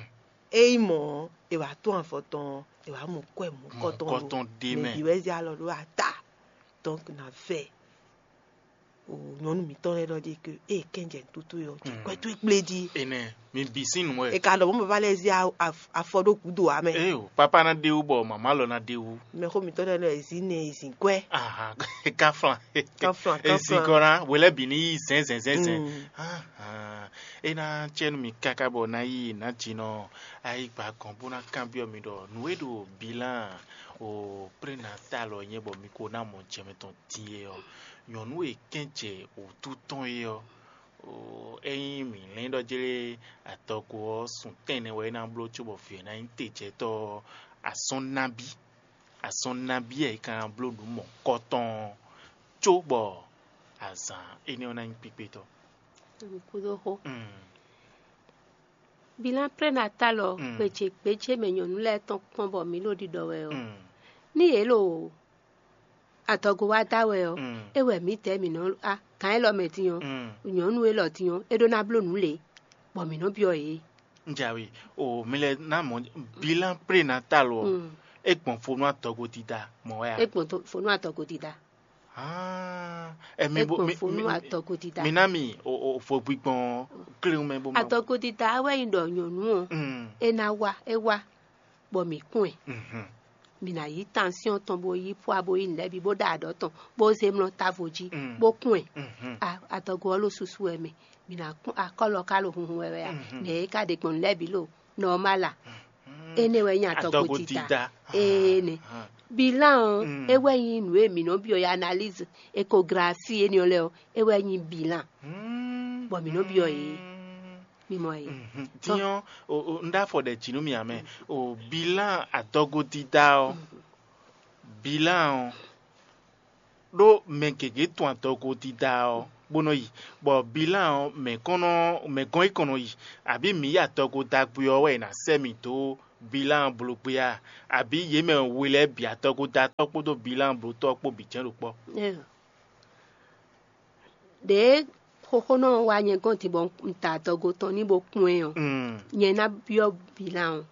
é nyí mɔ̌ ɔ́, è wǎ tún avɔ tɔn ɔ́, è wǎ mɔ kwɛ́ mɔ̌kɔtɔn Mɔ̌kɔtɔn ɖé mɛ. Mɛ bǐ wɛ zé alɔ ɖó ata. Donc nǎ vɛ o nyɔ̌nu mǐtɔn lɛ́ɛ ɖɔ ɖi ke ée kɛ́njɛ nǔtútú ɔ́, jɛ kwɛ́ towe kplé jí. Enɛ mi bǐ sín nǔ wɛ. È ka ɖɔ mɔ̌ baba lɛ́ɛ zé a- af- afɔ ɖó gǔdo ǎ mɛ. Ee o, papa ná ɖe wú bɔ màmá lɔ ná ɖe wú. Mɛxó mǐtɔn lɛ́ɛ nɔ e zǐn nɛ e zǐn kwɛ́. Ahan, kaflan. Kaflan, Ezi kaflan. Gɔ́ ná wělɛ́ bǐ ní yí zɛ̌nzɛ̌nzɛ̌nzɛ̌n. Mm. Ahan, é ná cɛ nú mi káká bɔ ná yí nǎ jinɔ ayigba gɔn bó ná kanbyɔ́ mi ɖɔ nǔ e ɖo bilan o prénatal ɔ́ nyɛ bɔ mi ko ná mɔ jɛmɛ tɔn din é ɔ́, nyɔ̌nu e kɛ́n jɛ wǔtu tɔn é ɔ́, ényí mǐ lɛ́n ɖɔ jlé adɔgo ɔ́, sun tɛ́nnɛ wɛ é ná bló cóbɔ vǐ ɔ́ ná nyí tejɛtɔ́ ɔ́, azɔn nabí, azɔn nabí wɛ é ka ná bló nǔ mɔ̌kɔtɔn ɔ́, cóbɔ azǎn énɛ́ ɔ́ ná nyí kpíkpétɔ́? Kúdó xó. Mm. Bilan prénatal ɔ́, Mm. Gbějé gbějé mɛ nyɔ̌nu lɛ́ɛ tɔn kpɔ́n bɔ mǐ ɖo ɖiɖɔ wɛ ɔ́, Mm. ní yě ɖo adɔgo wá da wɛ ɔ́, Mm. é wɛ mǐdɛɛ mǐ nɔ a gǎn élɔ́ mɛ din ɔ́, Mm. nyɔ̌nu élɔ́ din ɔ́, é ɖó ná bló nǔ lě, bɔ mǐ nɔ byɔ́ yě. Njawe o mi lɛ ná mɔ bilan prénatal ɔ Mm. E gbɔn fonu adɔgo dida mɔ wɛ a? É gbɔn to- fonu adɔgo dida. Ah, ɛ mi É bo gbɔn mi fonu mi adɔgo dida. Mi ná mi o o fo gbigbɔn kléwún mɛ bó ma. Adɔgo dida wɛ nyi ɖɔ nyɔ̌nu ɔ́, Mm. É ná wá, é wá. bɔ mǐ kún ɛ. Mǐ ná yí tansyɔ́n tɔn bó yí pwa bó yí nǔ lɛ́ɛ bǐ bó ɖa aɖɔ̌ tɔn bó zé mlɔ́ távo jí bó kún ɛ. Adɔgo ɔ́ ɖo susu wɛ mɛ. Mǐ ná kún akɔ́lɔ ka ɖo hunhun wɛ wɛ a? Nɛ̌ é ka ɖe gbɔn nǔ lɛ́ɛ bǐ ɖo nɔmál a? Énɛ́ wɛ nyí adɔgo dida. Énɛ́. Bilan ɔ́, é wɛ nyí nǔ e mǐ nɔ byɔ́ analyse, échographie énɛ́ ɔ́ lɛ́ɛ ɔ́, é wɛ nyí bilan. Bɔ mǐ nɔ byɔ́ yě. Mimɔ yě. Din ɔ́, un ɖo afɔ ɖɛ jǐ nú mì ǎ mɛ. O bilan adɔgo dida ɔ́, bilan ɔ́ ɖó mɛ gěgé tun adɔgo dida ɔ́ bó nɔ yi, bɔ bilan ɔ́ mɛ kɔn nɔ mɛ gɔn yi kɔn nɔ yi, abǐ mǐ yi adɔgo da gbé ɔ́ wɛ è nǎ sɛ́ mì dó bilan bló gbé a? Abǐ yě mɛ we lɛ́ɛ bǐ adɔgo da tɔ́ kpódó bilan bló tɔ́ kpó bǐ jɛ́n ɖo kpɔ́? Ɖěe xóxónɔ ɔ́ wá nyɛ gɔ́n din bɔ un ta adɔgo tɔn ní bó kún ɛ ɔ́, nyɛ ná byɔ́ bilan ɔ́.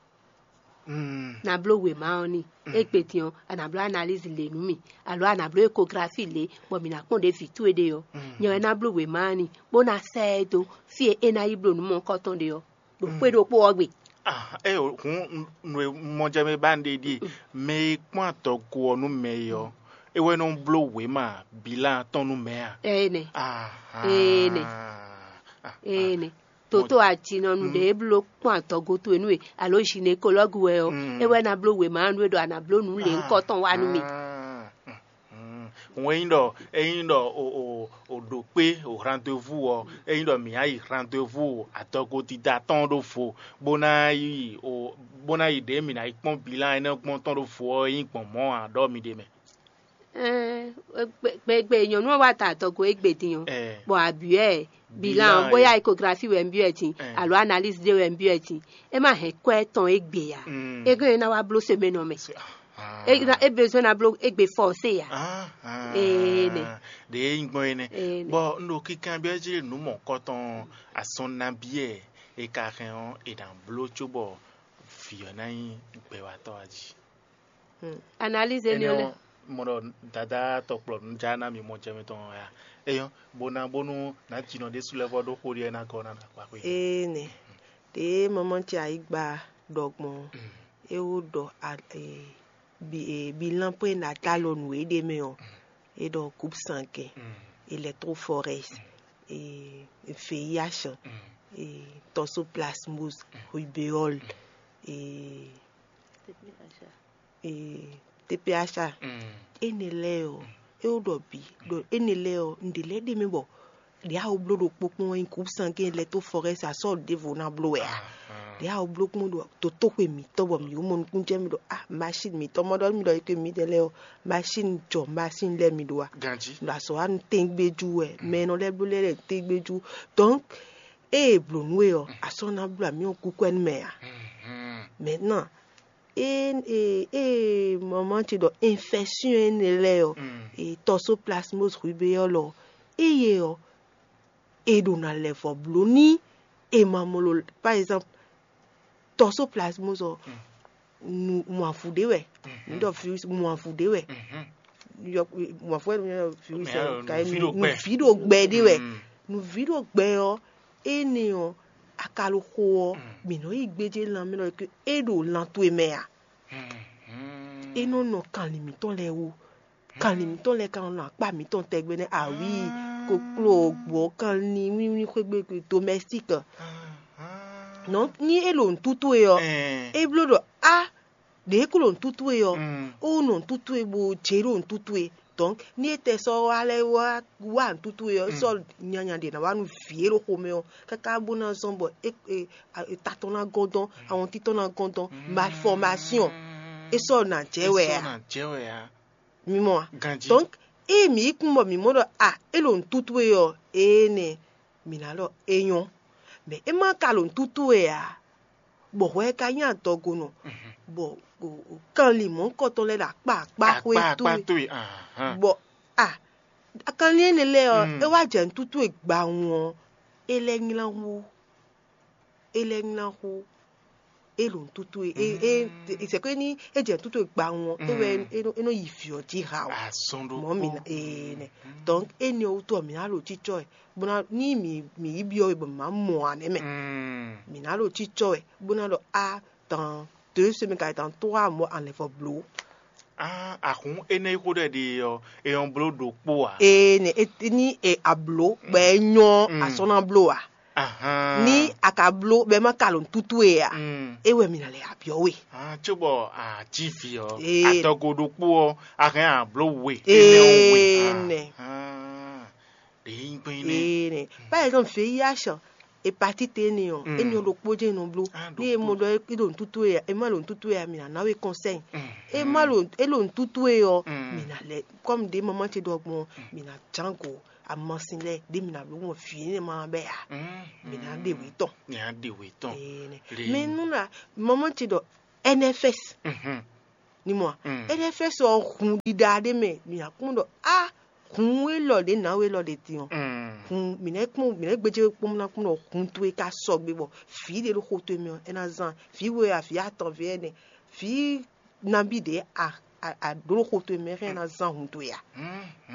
Na bló wěma ɔ́ n'i. Égbé din ɔ́, a nǎ bló analyse lě nú mì, alo a nǎ bló échographie lě, bɔ mǐ ná kpɔ́n ɖě vǐ towe ɖe ɔ́. Nyɛ wɛ ná bló wěma ɔ́ n'i, bó ná sɛ́ ɛ dó fí e é ná yi bló nǔ mɔ̌hunkɔtɔn ɖe ɔ́, ɖo xwé ɖokpó ɔ́ gbe. Ah, é o, hǔn nǔ e mɔ jɛ mɛ ba un ɖe ɖíe, mɛ e kpɔ́n adɔgo ɔ́ nú mɛ é ɔ́, é wɛ nɔ bló wěma bilan tɔn nú mɛ a? Énɛ́. Ahan. Énɛ́. Énɛ́. Toto ajinɔnu ɖě bló kpɔ́n adɔgo towe nú we, alo gynécologue wɛ ɔ́, é wɛ ná bló wěma nú we ɖɔ a nǎ bló nǔ lěhunkɔtɔn wá nú mì. Hǔn ényí ɖɔ ényí ɖɔ o o o ɖo kpé o rendez-vous ɔ́, ényí ɖɔ mǐ á yi rendez-vous adɔgo dida tɔn ɖó vo, bó ná yi o bó ná yi ɖě mǐ ná yi kpɔ́n bilan énɛ́ gbɔn tɔn ɖó vo ɔ́, é nyí gbɔn mɔ̌ ǎ ɖɔ mi ɖe mɛ. Gbegbe nyɔ̌nu ɔ́ wá ta adɔgo égbé din ɔ́, bɔ a byɔ́ ɛ bilan ɔ́, bóyá échographie wɛ un byɔ́ ɛ din, alo analyse ɖé wɛ un byɔ́ ɛ din, é má hɛn kwɛ́ tɔn égbé ǎ. É gɔ́n é ná wá bló semaine ɔ́ mɛ. É ná- é besoin ná bló égbé forcé ǎ. Ee nɛ. Ɖě é nyí gbɔn é nɛ́. Ee nɛ. Bɔ un ɖo kinkanbyɔ́ jí nǔ mɔ̌kɔtɔn asɔn nabí ɛ è ka hɛn ɔ́, è nǎ bló cóbɔ vǐ ɔ́ ná nyí gbɛwatɔ́ ǎ jí. Analyse énɛ́ ɔ́ lɛ́ɛ. Mɔ ɖɔ dada tɔkplɔ nǔ já ná mi mɔ jɛ mitɔn ɔ́ ya. Eyɔ́, bo ná bónú nǎ jinɔ ɖésú lɛ́ɛ vɔ ɖó xó ɖiɛ ná gɔ́ ná ɖo akpa xwé. Ee nɛ. Ɖě mamá ce ayǐgba ɖɔ gbɔn é wó ɖɔ a- e- bi- e- bilan pwé ná ta lɔ nǔ e ɖ'é mɛ ɔ́, é ɖɔ groupe sanguin, électrophorèse, e- V I H, e- toxoplasmose, rubéole, e- e- T P H. Énɛ́ lɛ́ɛ ɔ́, é wó ɖɔ bǐ ɖɔ énɛ́ lɛ́ɛ ɔ́, un ɖě lɛ́ɛ ɖ'é mɛ bɔ ɖě a wó bló ɖokpó kpɔ́n wɛ nyí groupe sanguin électrophorèse, a sɔ́ ɖěvo ná bló wɛ a? Ɖě a wó bló kpɔ́n ɖo dotóxwe mǐtɔn bɔ mǐ wó mɔ nukúnnú jɛ mì ɖɔ a machine mǐtɔn mɔ ɖɔ mì ɖɔ é mǐdɛɛ lɛ́ɛ ɔ́, machine jɔ machine lɛ́ɛ mì ɖó a? Ganjí. Ɖo azɔ̌ wa nu tɛ́ngbéjú wɛ, mɛ e nɔ lɛ́ bló lɛ́ɛ lɛ́ɛ tɛ́ngbéjú. Donc ée è blǒ nú we ɔ́, a sɔ́ ná bló amyɔ kúkú ɛnú mɛ a? Maintenant, ée ée ée maman ce ɖɔ infection énɛ́ lɛ́ɛ ɔ́, e toxoplasmose rubéole ɔ́, eye ɔ́, e ɖo na lɛ vɔ bló ní e ma mló, par exemple, toxoplasmose ɔ́, nu mɔavu ɖé wɛ, nu ɖɔ virus mɔavu ɖé wɛ, yɔ mɔavu wɛ nu virus ɛ ka nu vi ɖo gbɛ ɖé wɛ, nu vi ɖo gbɛ ɔ́, énɛ́ ɔ́, akaloxo ɔ́, mǐ nɔ yi gbéjé lanmɛ lɔ é ɖo lan towe mɛ a? É nɔ nɔ kanlin mǐtɔn lɛ́ɛ wú. Kanlin mǐtɔn lɛ́ɛ ka nɔ akpá mǐtɔn tɛgbɛ nɛ́ awǐi, kokló, gbɔ̌, kanlin, wínwín xwé gbe domestique. Nɔ ní é ɖo nǔtútú e ɔ́, é bló ɖɔ á ɖě ko ɖo nǔtútú e ɔ́, ó nɔ nǔtútú e bó jɛ ɖo nǔtútú e. Donc ní é tɛ sɔ́ wá lɛ́ wá wá nǔtútú e ɔ́, sɔ́ nyanya ɖě ná wá nú vǐ e ɖo xomɛ ɔ́, káká bó ná zɔ́n bɔ é é ta tɔn ná gɔ́n dɔn, awɔntín tɔn ná gɔ́n dɔn, malformation, é sɔ́ nǎ jɛ wɛ a? Mi mɔ a? Donc ée mǐ yi kún bɔ mǐ mɔ ɖɔ a é ɖo nǔtútú e ɔ́, ee nɛ mǐ ná ɖɔ é nyɔ́. Mɛ é má ka ɖo nǔtútú e ǎ, bɔ hwɛ ka nyí adɔgonɔ, bɔ kanlin mɔ̌hunkɔtɔn lɛ́ɛ ɖo akpá akpá xwé towe, bɔ a kanlin énɛ́ lɛ́ɛ ɔ́, é wá jɛ nǔtútú e gbawun ɔ́, é lɛ́ nylá hú. É lɛ́ nylá xó, é ɖo nǔtútú e é é c'est que ní é jɛ nǔtútú e gbawun ɔ́, é wɛ é nɔ- é nɔ yi vǐ ɔ́ jí ha o. Azɔn ɖokpó. Mɔ̌ mi ná ee nɛ. Donc énɛ́ ɔ́ wútu ɔ́, mǐ ná ɖo cícɔ́ ɛ bó ná ní mǐ mǐ yi byɔ́ we bɔ mǐ má mɔ ǎ nɛ́ mɛ. Mǐ ná ɖo cícɔ́ ɛ bó ná ɖɔ á tan deux semaines ka yi dan trois mois anlɛvɔ bló. Ah, ahun énɛ́ yi xó ɖɔ ɖe ɔ́, é nyɔ́ bló ɖokpó ǎ. Ee, ne e ní e ablo bɔ é nyɔ́ asɔ́ ná bló ǎ. Ahán. Ní a ka bló bɔ é má ka lǒ nǔtútú e ǎ, Mm. É wɛ mi ná lɛ abyɔ́ we. Ah, cóbɔ a cí vǐ ɔ́, Ee. Adɔgo ɖokpó ɔ́, a hɛn a bló we. Énɛ́ ɔ́ we. Ee, nɛ. Ahán. Ɖě nyí gbɛn nɛ́. Ee, nɛ. Par exemple, V I H, hépatite énɛ́ ɔ́, Mm. Énɛ́ ɔ́ ɖokpó jɛ́n nɔ bló. Ah, Ní e mɔ ɖokpó. Ɖɔ é ɖo nǔtútú e ǎ, é má ɖo nǔtútú e ǎ, mi ná ná we conseil. Mm. É má ɖo é ɖo nǔtútú e ɔ́, Mm. Mi ná lɛ, comme ɖě maman ce ɖɔ gbɔn, Mi ná ján go amasin lɛ́ɛ ɖě mi ná bló gbɔn vǐ énɛ́ ma bɛ́ ǎ. Mm. Mi ná ɖe wě tɔn. Mi ná ɖe wě tɔn. Ee, nɛ. Lě. Mɛ nú na maman ce ɖɔ N F S. Mhm. Ni mɔ Mm. N F S ɔ́ hun ɖiɖa ɖé mɛ, mi ná kpɔ́n ɖɔ a hun élɔ́ ɖě nǎ we élɔ́ ɖě din ɔ́. Mm. Hun mi nɛ́ kpɔ́n mi nɛ́ gbéjé kpɔ́n ná kpɔ́n ɖɔ hun towe ka sɔgbe bɔ vǐ ɖé ɖo xo towe mɛ ɔ́, é ná zán vǐ we a vǐ atɔn vǐ ɛnɛ vǐ nabí ɖě a a a ɖó ɖo xo towe mɛ hɛn ná zán hun towe a.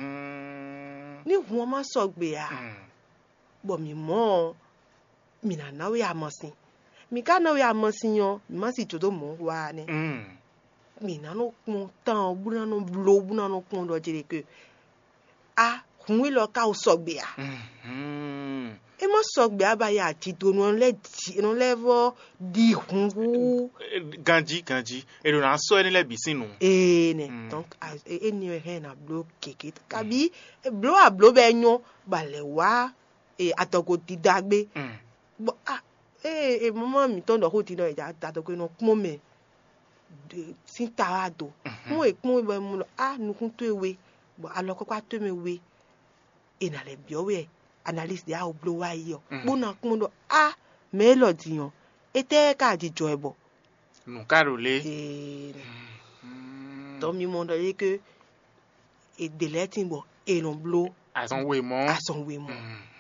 Mhm. Ní hun ɔ́ má sɔgbe a, Mm. Bɔ mǐ mɔ ɔ́, mǐ ná ná we amasin. Mǐ ka ná we amasin ɔ́, mǐ má si jǒ dó mɔ̌ wa ɔ́ nɛ́. Mm. Mǐ ná nɔ kpɔ́n tán ɔ́, bó ná nɔ bló, bó ná nɔ kpɔ́n ɖɔ jí ɖe ke a hun élɔ́ ka wo sɔgbe a? Mhm. É má sɔgbe a ba ya jǐ do nɔ lɛ́ jǐ nɔ lɛ́ vɔ ɖi hun hú. Ganjí, ganjí, è ɖo ná sɔ́ énɛ́ lɛ́ɛ bǐ sín nǔ. Ee nɛ. Mm. Donc a- e- éni wɛ hɛn ná bló gěgé kabi bló a bló bɛ nyɔ ba lɛ wá e adɔgo dida gbé. Mm. Bɔ a ee e mama mǐtɔn ɖɔ xó din ɖɔ e da adɔgo e nɔ kpɔ́n mɛ de- sín ta wá do. Mhm. Kpɔ́n e kpɔ́n e bɔ e mɔ ɖɔ a nukún towe we bɔ alɔ kɔkɔá towe mɛ we e nǎ lɛ́ byɔ́ we analyse ɖě a wo bló wá yi ɔ́, Mm. Bó ná kpɔ́n ɖɔ a mɛ élɔ́ din ɔ́, étɛ́ ka jijɔ ɛ bɔ Nǔ ka ɖo lě. Ee, Mm. Tɔ mi mɔ ɖɔ yé ke e ɖe lɛ́ɛ tin bɔ e nɔ bló Azɔn wemɔ. Azɔn wemɔ.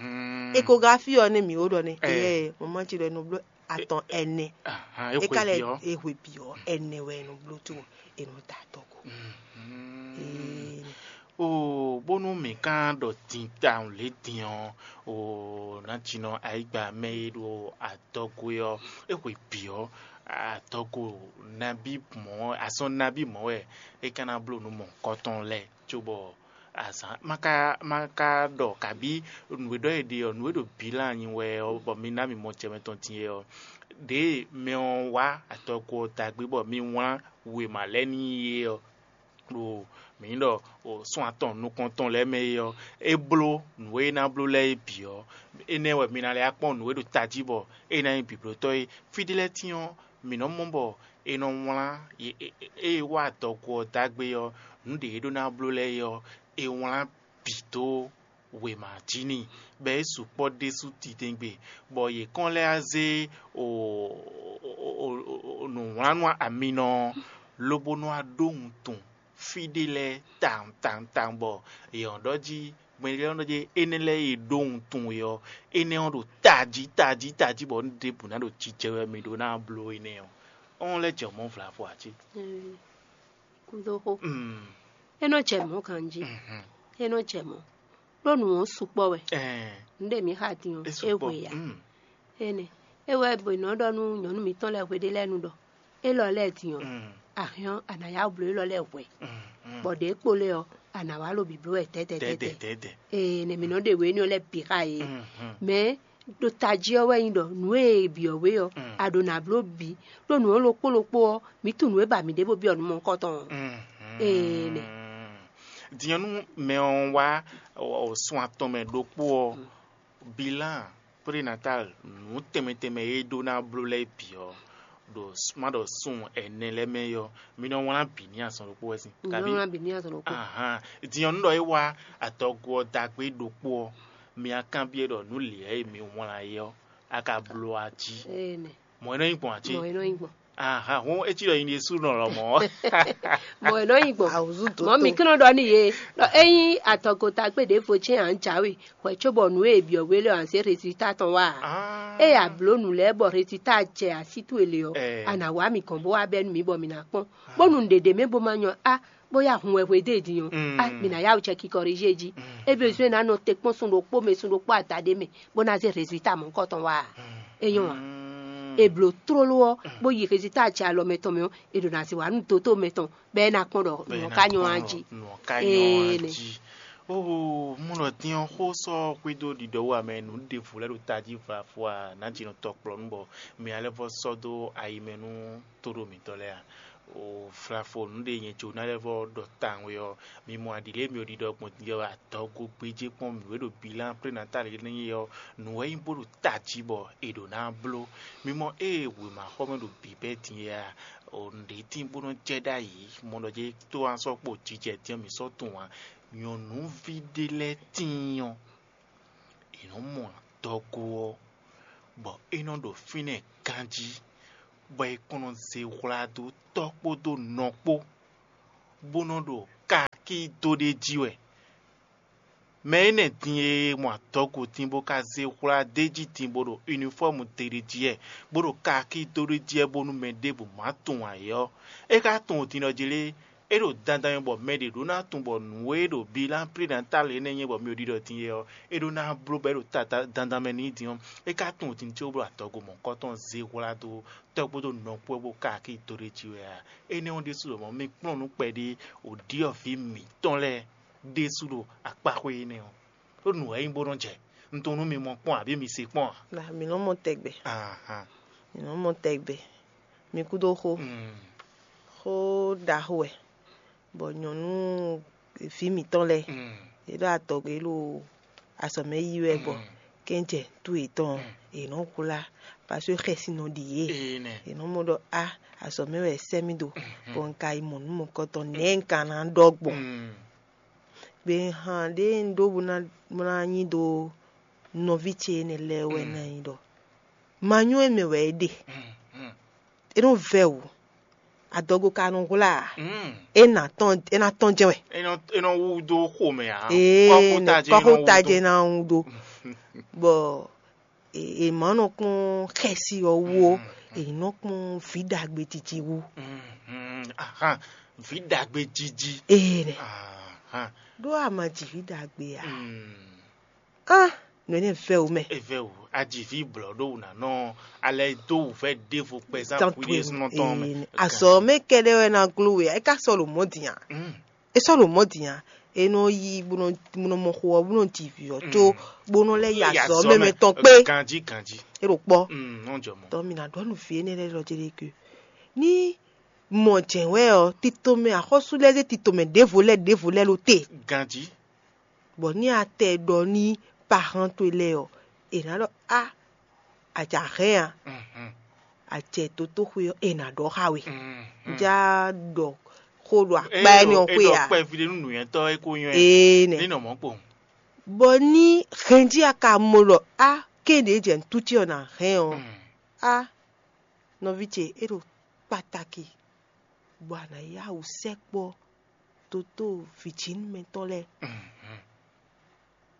Mhm. Échographie ɔ́ nɛ mi wo ɖɔ nɛ Eh. Eyɛ mama ce ɖɔ e nɔ bló atɔn ɛnɛ. Ahan, E ka lɛ ekwebiyɔ. Ehwe bi ɔ́ ɛnɛ wɛ e nɔ bló to e nɔ da tɔ ko. Mhm. Ee, O bónú mǐ ka ɖɔ din tawun lě din ɔ́, o nǎjínɔ ayǐgba mɛ e ɖo adɔgo é ɔ́, é hwe bǐ ɔ́, adɔgo nabí mɔ̌, azɔn nabí mɔ̌ wɛ é ka ná bló nǔ mɔ̌hunkɔtɔn lɛ́ɛ, cóbɔ azǎn ma ka ma ka ɖɔ kabí nǔ e ɖɔ è ɖe ɔ́, nǔ e ɖo bǐlan nyi wɛ ɔ́, bɔ mi ná mi mɔ jɛ mɛ tɔn din é ɔ́, ɖěe mɛ ɔ́ wá adɔgo ɔ́ da gbé bɔ mi wlán wěma lɛ́ɛ n'i é ɔ́, ɖo mǐ ɖɔ o sɔ́n atɔn nukɔntɔn lɛ́ɛ mɛ é ɔ́, é bló nǔ e é ná bló lɛ́ɛ é bǐ ɔ́, énɛ́ wɛ mi ná lɛ́ wá kpɔ́n nǔ e ɖo tají bɔ é ná nyí bǐblótɔ́ é. Fí ɖé lɛ́ɛ tín ɔ́, mǐ nɔ́ mɔ bɔ è nɔ wlán ée wá adɔgo ɔ́ dó agbe ɔ́, nǔ ɖě é ɖó ná bló lɛ́ɛ é ɔ́, è wlán bǐ dó wěma jí n'i, bɔ é sukpɔ́ ɖésú titewungbe, bɔ yě kɔn lɛ́ wá zé nǔwlánú aminɔ ɔ́, lobo nɔ wá ɖó wuntun fí ɖé lɛ́ɛ tawun tawun tawun, bɔ yě nɔ ɖɔ jí gbɛnlélɔ́ nɔ ɖɔ jí énɛ́ lɛ́ɛ e ɖó wuntun we ɔ́, énɛ́ ɔ́ ɖo tají tají tají, bɔ nǔ ɖěbǔ ná ɖo jijɛ wɛ mi ɖó ná bló énɛ́ ɔ́, ɔ́n lɛ́ jɛ mɔ̌ vlavo ǎ cí. Kúdóxó. Mm. É nɔ jɛ mɔ̌ ganjí. Mhm. É nɔ jɛ mɔ̌. Ɖó nǔ ɔ́ sukpɔ́ wɛ. Ɛɛ. Nǔ ɖe mǐ xa din ɔ́, É é sukpɔ́. Hwe ǎ. Mm. Énɛ́. É wɛ bo nɔ ɖɔ nú nyɔ̌nu mǐtɔn lɛ́ɛ hwe ɖé lɛ́ɛ nu ɖɔ élɔ́ lɛ́ɛ din ɔ́, Mm. A hɛn ɔ́, a nǎ yá wǔ bló élɔ́ lɛ́ɛ hwɛ̌. Mm, mm. Bɔ ɖě kpo lɛ́ɛ ɔ́, a nǎ wá lo bǐbló wɛ dɛ̌dɛ̌ Dɛ̌dɛ̌, dɛ̌dɛ̌. Dɛ̌dɛ̌. Ee, nɛ mǐ nɔ ɖe wě énɛ́ lɛ́ɛ bǐ xa yě. Mm, mm. Mɛ ɖo tají ɔ́ wɛ nyí ɖɔ nǔ e è byɔ̌ we ɔ́, Mm. A ɖǒ ná bló bǐ, ɖó nǔ ɔ́ ɖokpó ɖokpó ɔ́, mǐ tunwun nǔ e ba mǐ ɖe bó byɔ́ nǔ mɔ̌hunkɔtɔn ɔ́. Mhm. Ee, nɛ. Din ɔ́, nú mɛ ɔ́ wá ɔ, sun atɔn mɛ ɖokpó ɔ́, bilan prénatal nǔ tɛnmɛ tɛnmɛ e é ɖó ná bló lɛ́ɛ bǐ ɔ́, ɖo s- má ɖɔ sun ɛnɛ lɛ́ɛ mɛ é ɔ́, mi nɔ wlán bǐ n'i azɔn ɖokpó wɛ sín. Mi nɔ wlán bǐ n'i azɔn ɖokpó. Ahan. Din ɔ́, nú ɖɔ é wá adɔgo ɔ́ dagbe ɖokpó ɔ́, mi wá kanbyɔ́ ɖɔ nǔ lěɛ e mi wlán é ɔ́, a ka bló a jí. Ee, nɛ. Mɔ̌ é nɔ nyí gbɔn ǎ cí. Mɔ̌ é nɔ nyí gbɔn. Aha, hɔn é cí ɖɔ nyi ɖésú nɔ lɔmɔ̌. Mɔ̌ é nɔ nyí gbɔn. Awǔzú dó Mɔ̌ mi tó. Kí nɔ ɖɔ n'i yě ɖɔ ényí atɔgota gbe ɖěvo cɛ́n ǎ jǎwe hwɛ cóbɔ nǔ e è byɔ̌ we lɛ́ɛ ǎ zé rezilta tɔn wá ǎ. Ah. Ée a blǒ nǔ lɛ́ɛ bɔ rezilta jɛ así towe le ɔ́, Eh. A nǎ wá mǐ gɔ́n bó wá bɛ́ nú mǐ bɔ mǐ ná kpɔ́n. Bónú nǔɖé ɖé mɛ bó má nyɔ á, bóyá hun wɛ hwedó e din ɔ́, Mm. Á, mǐ ná yá wǔ cɛ kikɔrízí e jí. Mm. É bezwɛ́n ná nɔ te kpɔ́n sun ɖokpó mɛ, sun ɖokpó adaɖé mɛ, bó ná zé rezilta mɔ̌hunkɔtɔn wá ǎ. Mm. É nyɔ́ ǎ. Mm. è blǒ tlóló ɔ́, bó yi hezita jɛ alɔ mɛtɔn mɛ ɔ́, è ɖo ná zé wǎ nú dotó mɛtɔn bɔ é ná kpɔ́n ɖɔ nǔ ɔ́ ka nyɔ́ á jí. Nǔ ɔ́ ka nyɔ́ á jí. Oho, mɔ ɖɔ din ɔ́ xó sɔ́ xwedó ɖiɖɔ wú amɛ nǔ ɖěvo lɛ́ɛ ɖo tají vafɔ a nǎjínɔ tɔkplɔ́nú bɔ mi ná lɛ́ vɔ sɔ́ dó ayi mɛ nú tóɖó mǐtɔn lɛ́ɛ a? O flafo nǔ ɖe nyɛ jǒ ná lɛ́ vɔ ɖɔ tawun ɔ́, mi mɔ aɖǐ lě mi ò ɖiɖɔ gbɔn din ɔ́, adɔgo gbéjé kpɔ́n mǐ wé ɖo bilán prénatali énɛ́ ɔ́, nǔ wɛ nyí bó ɖo tají bɔ è ɖǒ ná bló. Mi mɔ ée wěmaxɔmɛ ɖo bǐbɛ́ din é a? O nǔɖé tín bó nɔ́ jɛ ɖ'ayǐ, mɔ ɖɔ jɛ tó wá sɔ́ kpo jijɛ din ɔ́, mǐ sɔ́ tunwun ǎ. Nyɔ̌nuví ɖé lɛ́ɛ tíin ɔ́, è nɔ́ mɔ adɔgo ɔ́, bɔ é nɔ ɖo fínɛ́ ganjí, bɔ è kɔn nɔ zé hwla dó tɔ́ kpódó nɔ kpó, bó nɔ ɖo kakí dó ɖ'é jí wɛ. Mɛ énɛ́ din e mɔ adɔgo din bó ka zé hwla d'é jí din bó ɖo unifɔ́mu te ɖé jí wɛ, bó ɖo kakí dó ɖ'é jí wɛ bónú mɛ ɖěbǔ má tunwun ǎ é ɔ́, é ka tunwun din ɖɔ jí lé? É ɖo dandan mɛ bɔ mɛ ɖě ɖó ná tunwun bɔ nǔ e ɖo bilán prénatal énɛ́ nyí bɔ mi ɖiɖɔ din é ɔ́, é ɖó ná bló bɔ é ɖo ta dandan mɛ n'i din ɔ́, é ka tunwun din có bló adɔgo mɔ̌hunkɔtɔn zé hwlá dó tɔ́ kpódó nɔ kpó wɛ bó ka akí dó ɖ'é jí wɛ a? Énɛ́ ɔ́ ɖésú lɔmɔ̌ mi kplɔ́n nú kpɛɖé wǒ ɖyɔ̌vǐ mǐtɔn lɛ́ɛ ɖésú ɖo akpáxwé énɛ́ ɔ́. Ɖó nǔ wɛ é nyí bó nɔ́ jɛ. Un tunwun nú mi mɔ kpɔ́n abǐ mi se kpɔ́n ǎ. Nǎ mi nɔ mɔ tɛgbɛ. Ahan. Mi nɔ mɔ tɛgbɛ. Mi kúdó xó. Mm. Xó ɖaxó wɛ. Bɔ nyɔ̌nu vǐ mǐtɔn lɛ́ɛ, Mm. yě ɖo adɔgbe ɖo azɔ̌ mɛ yí wɛ bɔ Mm. kɛ́njɛ nú yětɔn Mm. yě nɔ hwlá. Paseke xɛsi nɔ ɖi yě. Ee nɛ. Yě nɔ mɔ ɖɔ a azɔ̌ mɛ wɛ è sɛ́ mì ɖo. Mm. Bɔ un ka yi mɔ nǔ mɔ̌kɔtɔn nɛ̌ un ka ná ɖɔ gbɔn. Mm. Gbe han ɖé un ɖó bó ná bó ná nyi ɖó nɔví ce énɛ́ lɛ́ɛ wɛ Mm. ná nyi ɖɔ ma nyɔ́ é mɛ wɛ é ɖe. Mm. Mm. É nɔ vɛ́ wǔ. Adɔgo ka nɔ hwlá ǎ. Mm. É ná tɔn é ná tɔn jɛ́n wɛ. É nɔ é nɔ wú dó xomɛ ǎ. Ee Kɔ́xota jɛ́n é nɔ wú kɔ́xota dó. Jɛ́n ná wú dó. Bɔ è è má nɔ kpɔ́n xɛsi ɔ́ wú ó, Mm. È nɔ kpɔ́n vǐ ɖagbe titi wú. Mm, mm, ahan, vǐ ɖagbe jiji. Ee nɛ. Ahan. Ɖó a ma ji vǐ ɖagbe a? Mm. Ah, nǔ énɛ́ vɛ́ wǔ mɛ. Evɛ o, ajivi blɔ ɖó wǔ ná nɔ alɛ dó wǔvɛ́ ɖěvo kpɛzán Tán hwi ɖésúnɔ tɔn mɛ. Azɔ mɛ kɛɖɛ wɛ na gló we, é ka sɔ ɖo mɔ̌ din a? Mm. É sɔ ɖo mɔ̌ din a? É nɔ yi bó nɔ bó nɔ mɔ xo ɔ́, bó nɔ ji vǐ ɔ́ có bó nɔ lɛ́ yi azɔ mɛ mɛ tɔn kpé. Ganjí ganjí. É ɖo kpɔ́. Mm, nɔ jɔ mɔ. Tɔ mi na ɖɔ nu vǐ énɛ́ lɛ́ɛ lɔ jɛ ɖe ke. Ní mɔ jɛ̌n wɛ ɔ́, tito mɛ axɔ́sú lɛ́ɛ zé tito mɛ ɖěvo lɛ́ɛ ɖěvo lɛ́ɛ ɖo te. Ganjí. Bɔ ní a tɛ ɖɔ ní pahan towe lɛ́ɛ ɔ́, è nǎ ɖɔ a a jǎ hɛn a, Mhm. A jɛ dotóxwé ɔ́, è nǎ ɖɔ xá we. Mhm. Já ɖɔ xó ɖo akpá énɛ́ ɔ́ xwé a? Kpɛví ɖé nú nǔnywɛ́tɔ́ é kó nywɛ́. Ee nɛ. Ní nɔ mɔ̌ kpowun. Bɔ ní hɛn jí a ka mɔ ɖɔ a kéɖě jɛ nǔtúcí ɔ́ ná hɛn ɔ́, Mm. a nɔví ce é ɖo kpataki, bɔ a nǎ yá wǔ sɛkpɔ́ dotó vǐjínúmɛtɔn lɛ́ɛ, Mhm.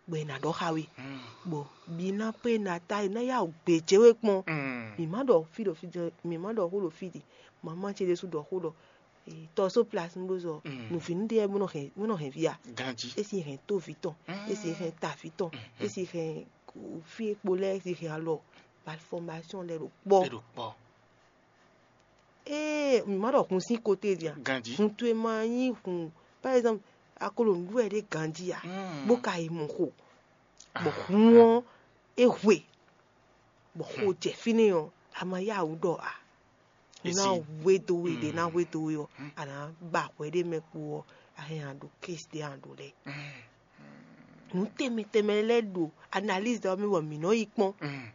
Bɔ è nǎ ɖɔ xá we. Mm. Bɔ mi ná pé ná ta è ná yá wǔ gbějé we kpɔ́n. Mm. Mi má ɖɔ fí ɖɔ fí ɖɔ mi má ɖɔ xó ɖɔ fí ɖi. Mama ce ɖésú ɖɔ xó ɖɔ tɔ só plas nú ɖó zɔ Mm. nǔvínú ɖé bó nɔ hɛn bó nɔ hɛn via. Ganjí. É si hɛn tó vǐ tɔn, é si hɛn ta vǐ tɔn, é si hɛn fí e kpo lɛ́ɛ é si hɛn alɔ malfɔmásíɔn lɛ́ɛ ɖo kpɔ́. É ɖo kpɔ́. Ee, mi má ɖɔ hun sín kote din a? Ganjí. Hun towe ma nyí hun, par exemple, a ko ɖo nǔɖuɖu wɛ ɖé ganjí a? Mm. Bó ka yi mɔ xo, bɔ Ah, hun ah. Ɔ́ é hwe, bɔ xo jɛ fínɛ́ ɔ́, a ma yá wǔ ɖɔ a? Ná Esi. Hwe dó we ɖě ná Mm. Hwe dó we ɔ́, Mm. A nǎ ba hwɛ ɖé mɛ kpo ɔ́, a hɛn a ɖo kési ɖé a ɖo lɛ́ɛ. Mm. Nǔ tɛnmɛ tɛnmɛ lɛ́ɛ ɖo analyse ɔ́ mɛ bɔ mǐ nɔ yi kpɔ́n. Mm.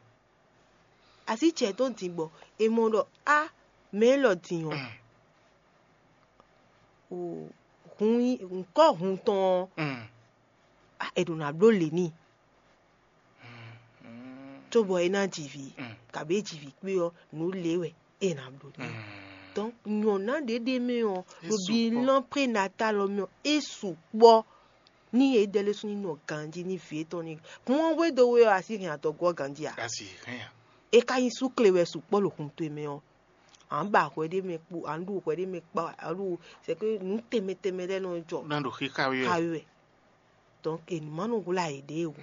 Así ce tɔn din bɔ è mɔ ɖɔ á mɛ élɔ́ din ɔ́, Mm. o hun nyí ŋkɔ́ hun tɔn ɔ́, Mm. á, è ɖo ná bló lě n'i. Mm. Cóbɔ é ná ji vǐ, Mm. Kabǐ é ji vǐ kpé ɔ́, nǔ lě wɛ é ná bló n'i. Mm. Donc nyɔ̌ná ɖě ɖ'é mɛ ɔ́, É ɖo sukpɔ́. Bilan prénatal ɔ́ mɛ ɔ́, é sukpɔ́. Ní yě dɛ lɛ́ɛ sú ní nɔ ganjí ní vǐ étɔn ní hun ɔ́ hwédo we ɔ́, a sí hɛn adɔgo ɔ́ ganjí ǎ. A sì hɛn a? É ka nyí súkle wɛ sukpɔ́ ɖo hun towe mɛ ɔ́, à ń ba hwɛ ɖé mɛ kpo, à ń ɖu hwɛ ɖé mɛ kpa, à ń ɖu c'est que nǔ tɛnmɛ tɛnmɛ lɛ́ɛ nɔ jɔ. Ná ɖo xíxá we wɛ. Xá we wɛ. Donc è nǐ má nɔ hwlá yěɖée o.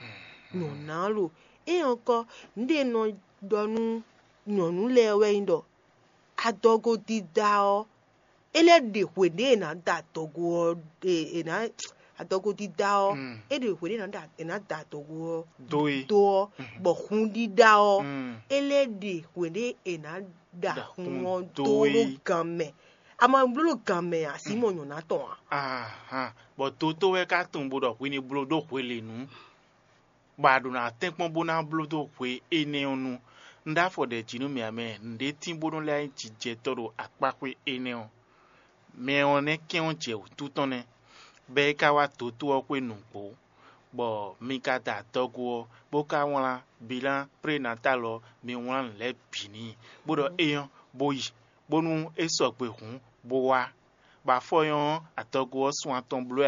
Nyɔ̌ná lo. É ɔ́ kɔ, nǔɖé nɔ ɖɔ nú nyɔ̌nu lɛ́ɛ wɛ nyí ɖɔ adɔgo dídá ɔ́, é lɛ́ ɖe hwe ɖě è nǎ da adɔgo ɔ́, è è nǎ adɔgo dídá ɔ́, é ɖe hwe ɖě è nǎ da è nǎ da adɔgo ɔ́ Dó e. dó ɔ́, bɔ hun ɖíɖá ɔ́, é lɛ́ ɖe hwe ɖě è nǎ da Da hun hun ɔ́ dó dó é. ɖó gan mɛ. Ama bló ɖo gan mɛ a, sí mɔ nyɔ̌ná tɔn a? Ahan, bɔ dotó wɛ ka tunwun bó ɖɔ hwi ní bló ɖó hwelěnu, bɔ a ɖo ná tɛ́nkpɔ́n bó ná bló dó hwe énɛ́ ɔ́ nu. Un ɖó afɔ ɖɛ jǐ nú mì ǎ mɛ, nǔɖé tín bónú lɛ́ nyí jijɛtɔ́ ɖo akpáxwé énɛ́ ɔ́. Mɛ ɔ́ nɛ́ kɛ́n ɔ́ jɛ wǔtu tɔn nɛ́, bɔ é ka wá dotó ɔ́ xwé nǔgbó, bɔ mi ka da adɔgo ɔ́, bó ka wlán bilán prénatal ɔ́, mi wlán nǔ lɛ́ɛ bǐ n'i, bó ɖɔ é nyɔ́, bó yi, bónú é sɔgbe hǔn, bó wá. Bɔ afɔ nyɔ́ ɔ́, adɔgo ɔ́ sun atɔn bló